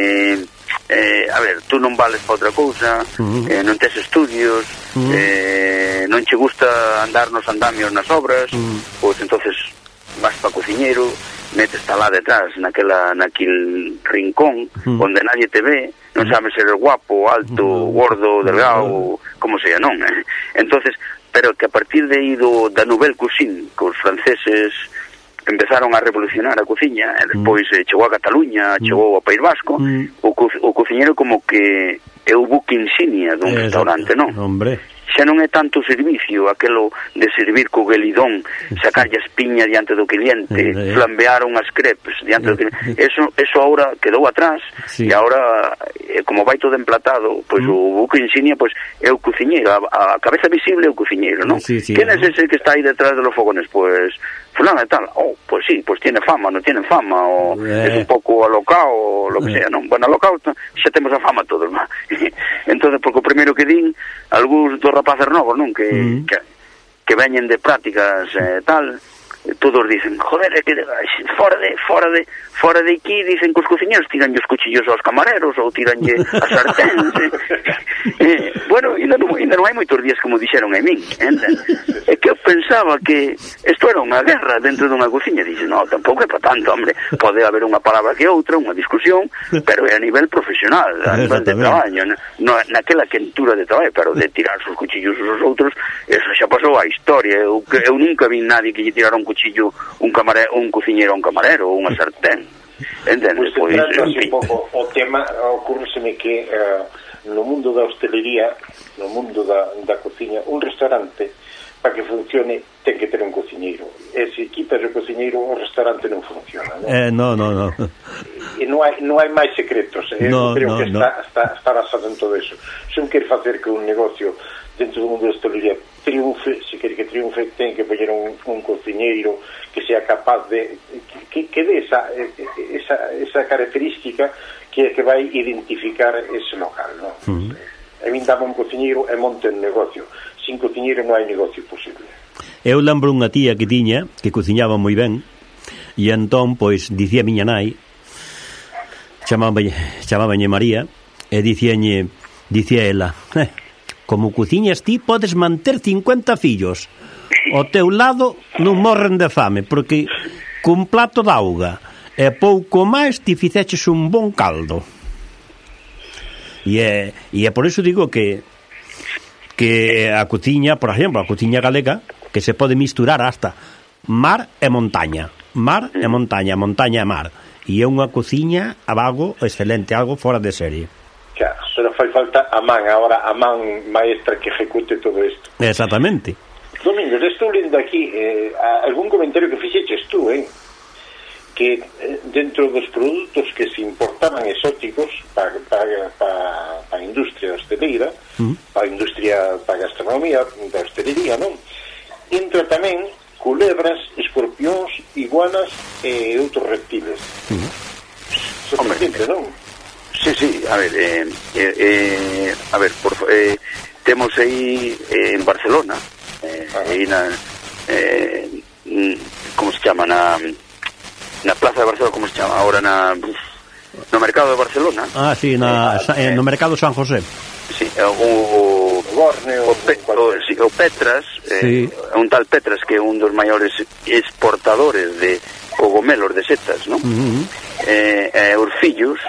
eh, a ver, tú non vales para outra cousa, mm. eh, non tes estudios, mm. eh, non che gusta andar nos andamios nas obras, mm. pois entonces vas para cociñeiro, metes lá detrás naquela, naquil rincón mm. onde nadie te ve, non sabes ser guapo, alto, mm. gordo, delgado, mm. como sea, non? Entonces, pero que a partir de aí do, da nouvelle cuisine, que os franceses empezaron a revolucionar a cociña, e despois mm. chegou a Cataluña, mm. chegou ao País Vasco, mm. o, co o cociñeiro como que é o buque insignia dun eh, restaurante, non? Hombre. Xa non é tanto o servicio, aquelo de servir co guelidón, sacarlle a espiña diante do cliente, eh, flambear unhas crepes diante eh, do cliente. Eso, eso ahora quedou atrás, sí. E ahora, eh, como vai todo emplatado, pois mm. o buque insignia pois é o cociñeiro, a, a cabeza visible é o cociñeiro, non? Sí, sí, Quen é ese que está aí detrás de los fogones? Pois fulano e tal. Oh, pues sí, pues tiene fama, no tiene fama, o eh. es un pouco alocao, o lo que eh. sea, non? Bueno, alocao xa temos a fama todos, non? Entonces, porque o primeiro que din, algúns dos rapaces novos, non? Que, mm. que, que veñen de prácticas eh, tal, todos dicen, joder, é que fora de, fora de, fora de aquí, dicen que os cociñeros tiranlle os cuchillos aos camareros, ou tiranlle as sarténs, eh. eh, bueno, ainda non, ainda non hai moitos días como dixeron a min, entende? É que eu pensaba que isto era unha guerra dentro dunha cociña, dixe, no, tampouco é para tanto, hombre, pode haber unha palabra que outra, unha discusión, pero é a nivel profesional, a nivel de traballo, no, naquela quentura de traballo, pero de tirar os cuchillos aos outros, eso xa pasou a historia, eu, eu nunca vi nadie que lle tirara un cuchillo un camarero, un cociñeiro a un camarero ou unha sartén. Entendes? Pois, pois, un pouco o tema, ocurre-me que uh, no mundo da hostelería, no mundo da, da cociña, un restaurante para que funcione ten que ter un cociñeiro. E se quitas o cociñeiro, o restaurante non funciona, non? Eh, no, no, no. E non hai, non hai máis secretos, eh? No, creo no, que no. está, está, está basado en todo eso. Se un quer facer que un negocio dentro do mundo da hostelería triunfe, se quer que triunfe, ten que poñer un, un cociñeiro que sea capaz de que, que dé esa, esa, esa característica que, que vai identificar ese local, non? Uh-huh. A min dame un cociñeiro e monte un negocio. Sin cociñeiro non hai negocio posible. Eu lembro unha tía que tiña que cociñaba moi ben, e entón, pois, dicía a miña nai, chamáballe, chamáballe María, e dicíalle, dicía ela, eh, como cociñas ti, podes manter cincuenta fillos. Ao teu lado non morren de fame, porque cun plato de auga e pouco máis ti fixeches un bon caldo. E é, e é por iso digo que que a cociña, por exemplo, a cociña galega, que se pode misturar hasta mar e montaña. Mar e montaña, montaña e mar. E é unha cociña a vago excelente, algo fora de serie. Claro, pero fai falta a man, agora a man maestra que ejecute todo isto. Exactamente. Domingos, estou lendo aquí eh, algún comentario que fixeches tú, eh? Que eh, dentro dos produtos que se importaban exóticos para pa, pa, pa a industria hosteleira, uh-huh. para a industria, para a gastronomía da hostelería, non? Entra tamén culebras, escorpións, iguanas e outros reptiles. Uh-huh. Sorprendente, non? Sí, sí, a ver, eh, eh, eh, a ver, por, eh, temos aí eh, en Barcelona, eh, aí na, eh, como se chama, na, na Plaza de Barcelona, como se chama, ahora na, no Mercado de Barcelona. Ah, sí, na, eh, no Mercado San José. Sí, o, o, Borneo, o, Pe, o, sí, o Petras, sí. eh, un tal Petras que é un dos maiores exportadores de cogomelos de setas, non? Uh-huh. Eh, eh, os fillos,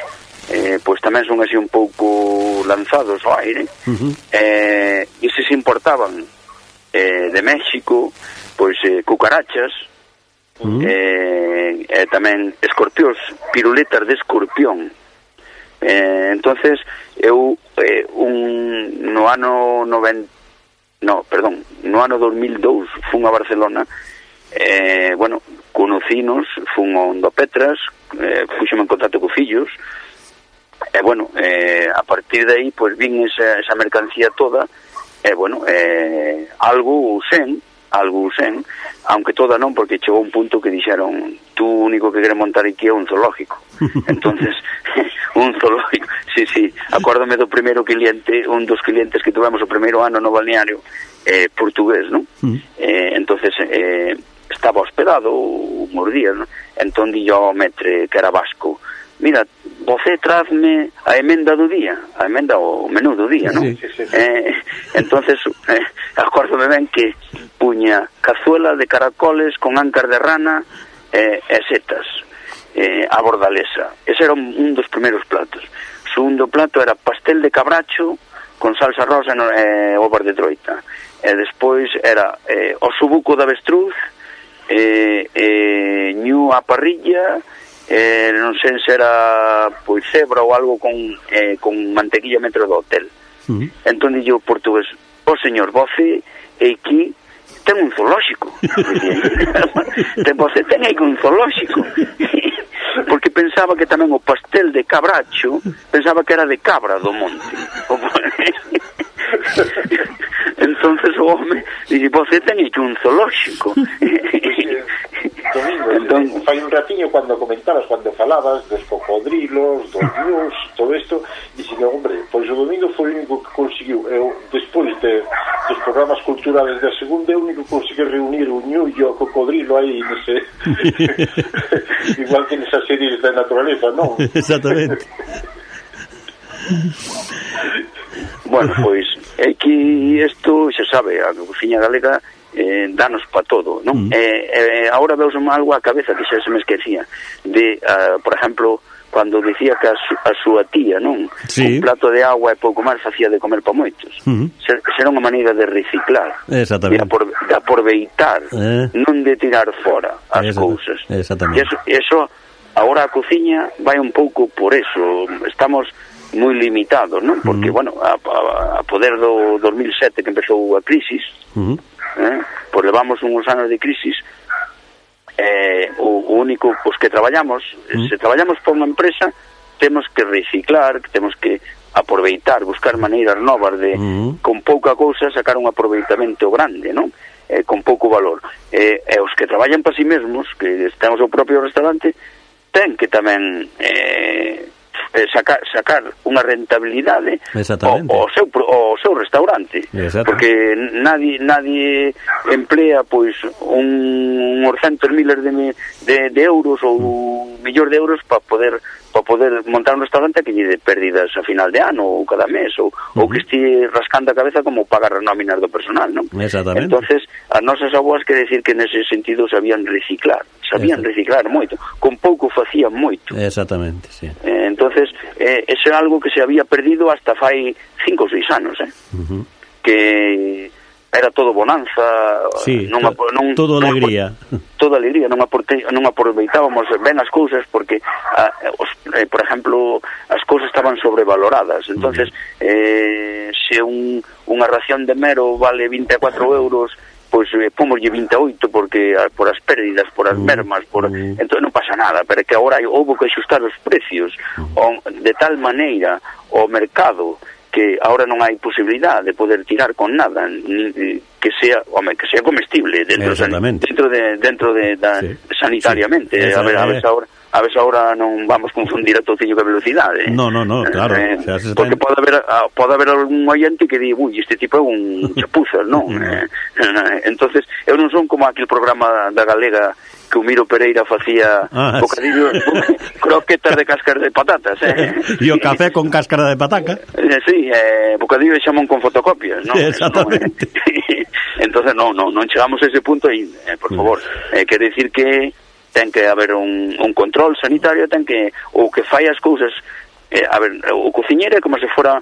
eh, pois tamén son así un pouco lanzados ao aire, uh-huh. eh, e se se importaban eh, de México, pois eh, cucarachas, uh-huh. eh, eh, tamén escorpións, piruletas de escorpión. Eh, entonces eu eh, un, no ano noventa no, perdón, no ano dos mil dous fun a Barcelona, eh, bueno, conocinos, fun a Ondo Petras, eh, puxeme en contacto co fillos, e, eh, bueno, eh, a partir de aí, pois, vin esa, esa mercancía toda, e, eh, bueno, eh, algo sen, algo sen, aunque toda non, porque chegou un punto que dixeron, tú único que queres montar aquí é un zoológico. Entonces, un zoológico, sí, sí, acuérdame do primeiro cliente, un dos clientes que tuvemos o primeiro ano no balneario, eh, portugués, non? Mm. Eh, entonces, eh, estaba hospedado uns días, non? Entón, di yo ao metre, que era vasco, mira, você trazme a emenda do día, a emenda o menú do día, non? Sí, sí, sí. Eh, entonces, eh, acórdome ben que puña cazuela de caracoles con áncar de rana eh, e setas, eh, a bordalesa. Ese era un, un dos primeiros platos. O segundo plato era pastel de cabracho con salsa rosa e eh, ovas de troita. E despois era eh, o subuco de avestruz, eh, eh, ñu a parrilla, eh, non sei se era pois cebra ou algo con, eh, con mantequilla metro do hotel. Uh-huh. Entón dixo o portugués, o oh, señor, voce e aquí ten un zoolóxico. Você ten aí un zoolóxico. Porque pensaba que tamén o pastel de cabracho, pensaba que era de cabra do monte. Entonces o home dice, você ten aí un zoolóxico. Domingo, entón, fai un ratiño cando comentabas, cando falabas dos cocodrilos, dos ñus, todo isto, dixen, hombre, pois o Domingo foi o único que conseguiu, eu, despois de, dos programas culturales da segunda, é o único que conseguiu reunir o ñu e o cocodrilo aí, non sei, igual que nesas series da naturaleza, non? Exactamente. Bueno, pois, é que isto, xa sabe, a cociña galega eh, danos pa todo, non? Mm. Eh, eh, ahora veus algo á cabeza que xa se me esquecía de, uh, por exemplo, cando dicía que a, su, a súa tía, non? Sí. Un plato de agua e pouco máis facía de comer pa moitos. Mm. Ser, será unha maneira de reciclar, de, apor, de aproveitar, eh. non de tirar fora as cousas. Exactamente. E eso, eso, agora a cociña vai un pouco por eso, estamos moi limitados, non? Porque, mm. bueno, a, a, a poder do dos mil sete que empezou a crisis, mm. eh, pois levamos uns anos de crisis, eh, o, o único, os que traballamos, mm. se traballamos por unha empresa, temos que reciclar, temos que aproveitar, buscar maneiras novas de, mm. con pouca cousa, sacar un aproveitamento grande, non? Eh, con pouco valor. Eh, e os que traballan para si mesmos, que temos o propio restaurante, ten que tamén eh, sacar, sacar unha rentabilidade ao seu, ao seu restaurante. Porque nadie nadie emplea pois un, uns centos miles de, de, de euros ou un millón de euros para poder para poder montar un restaurante que lle de pérdidas a final de ano ou cada mes ou, uh-huh. ou que esté rascando a cabeza como pagar as nóminas do personal, non? Exactamente. Entonces, as nosas abuas quere decir que nese sentido sabían reciclar, sabían reciclar moito, con pouco facían moito. Exactamente, sí. Eh, entonces, eh, ese é algo que se había perdido hasta fai cinco ou seis anos, eh? Uh-huh. Que era todo bonanza, sí, non, to, non, todo non, alegría. Toda alegría, non, aporte, non aproveitábamos ben as cousas porque, a, os, eh, por exemplo, as cousas estaban sobrevaloradas. Entonces, uh-huh. eh, se un, unha ración de mero vale vinte e catro euros, pois eh, pomoslle vinte e oito porque a, por as pérdidas, por as mermas, por uh-huh. entón non pasa nada, pero que agora houve que axustar os precios uh-huh. o, de tal maneira o mercado que ahora non hai posibilidade de poder tirar con nada, ni, que sea, home, que sea comestible dentro dentro de dentro de da, sí. sanitariamente. Sí. A ver, a ver se ahora a ver se ahora non vamos confundir a tociño que velocidade. No, no, no, claro. Eh, o sea, se porque pode haber pode haber algún oyente que di, "Uy, este tipo é un chapuzas", non? eh, entonces, eu non son como aquel programa da Galega que o Miro Pereira facía ah, bocadillo, sí. croquetas de cáscara de patatas, eh? E o café con cáscara de pataca. Eh, sí, eh, bocadillo de xamón con fotocopias, ¿no? Sí, exactamente. No, eh, entonces, non, non, non chegamos a ese punto e, eh, por favor, eh, quer decir que ten que haber un, un control sanitario, ten que, o que fai as cousas, eh, a ver, o cociñeiro é como se fora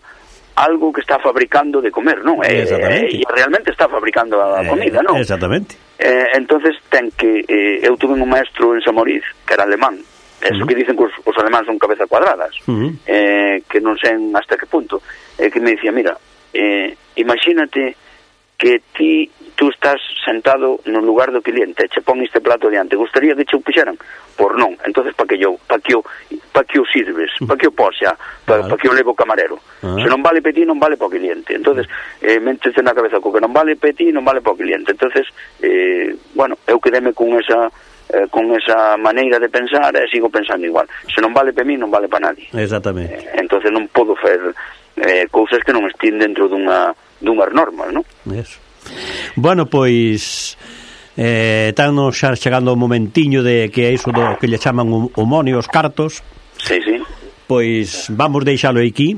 algo que está fabricando de comer, non? Eh, eh, e realmente está fabricando a comida, non? Exactamente. Eh, entonces ten que eh, eu tuve un maestro en Samoriz que era alemán, eso uh-huh. que dicen que os, os alemáns son cabeza cuadradas, uh-huh. eh, que non sei hasta que punto, eh, que me dicía, mira, eh, imagínate que ti tú estás sentado no lugar do cliente, che pon este plato diante, gustaría que che o puxeran? Por non, entonces para que yo, para que o, para que o sirves, para que o poxa, para, para que o levo o camarero. Uh-huh. Se non vale para ti, non vale para o cliente. Entonces, eh, métese na cabeza co que non vale para ti, non vale para o cliente. Entonces, eh, bueno, eu quedeme con esa eh, con esa maneira de pensar e sigo pensando igual. Se non vale para mí, non vale para nadie. Exactamente. Eh, entonces non podo fer eh, cousas que non estén dentro dunha dunhas normas, non? Eso. Bueno, pois eh, estamos xa chegando o momentiño de que é iso do que lle chaman o monio, os cartos. Sí, sí. Pois vamos deixalo aquí.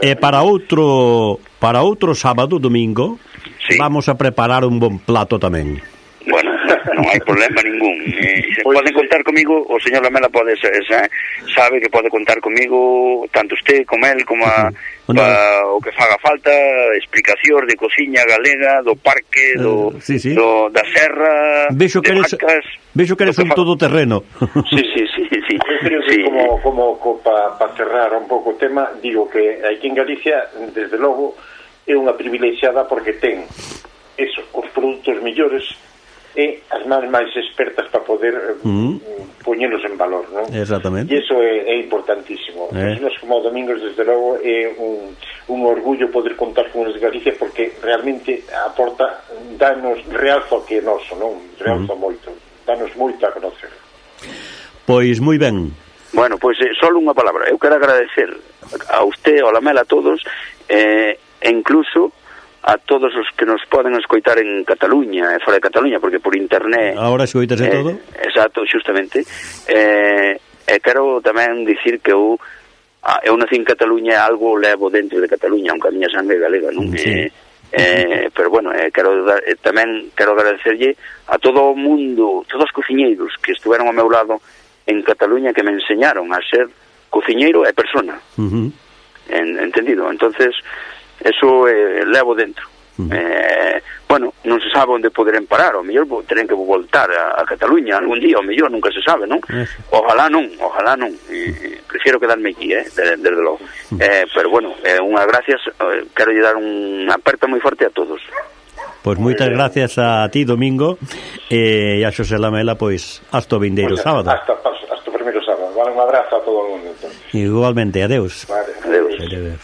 E para outro para outro sábado, domingo, sí, vamos a preparar un bon plato tamén. Bueno, non hai problema ningún. Eh, se poden contar comigo, o señor Lamela pode ser, sabe que pode contar comigo tanto usted como él, como a, uh-huh. pa, o que faga falta, explicacións de cociña galega, do parque, do, uh, sí, sí. do da serra, vexo que eres, marcas, vexo que eres un todoterreno. Sí, sí, sí, sí. Eu creo que sí. como, como, como para pa cerrar un pouco o tema, digo que aquí en Galicia, desde logo, é unha privilexiada porque ten eso, os produtos mellores e as mans máis expertas para poder mm. poñelos en valor, non? Exactamente. E iso é, é importantísimo. Eh. Nos como Domingos, desde logo, é un, un orgullo poder contar con os de Galicia porque realmente aporta, danos realzo que é noso, non? Realzo mm. moito, danos moito a conocer. Pois moi ben. Bueno, pois eh, só unha palabra. Eu quero agradecer a usted, a Lamela, a todos, eh, e incluso a todos os que nos poden escoitar en Cataluña e fora de Cataluña, porque por internet... Ahora escoitase eh, todo? Exacto, xustamente. Eh, e quero tamén dicir que eu, eu nací en Cataluña e algo levo dentro de Cataluña, aunque a miña sangre galega, non? Sí. Eh, eh, pero bueno, eh, quero dar, eh, tamén quero agradecerlle a todo o mundo, todos os cociñeiros que estuveron ao meu lado en Cataluña, que me enseñaron a ser cociñeiro e persona. Uh-huh. En, entendido? Entonces... eso eh, levo dentro. Uh-huh. Eh, bueno, non se sabe onde poderem parar, o mellor terem que voltar a, a Cataluña algún día, o mellor nunca se sabe, non? Eso. Ojalá non, ojalá non. Eh, prefiero quedarme aquí, eh, desde, desde logo. Uh-huh. Eh, pero bueno, eh, unha gracias, eh, quero lle dar unha aperta moi forte a todos. Pois moitas gracias a ti, Domingo, e a Xosé Lamela, pois hasta o vindeiro pues, sábado. Hasta, hasta o primeiro sábado. Vale, un abrazo a todo o mundo. Entonces. Igualmente, adeus. Vale, adeus. Adeus.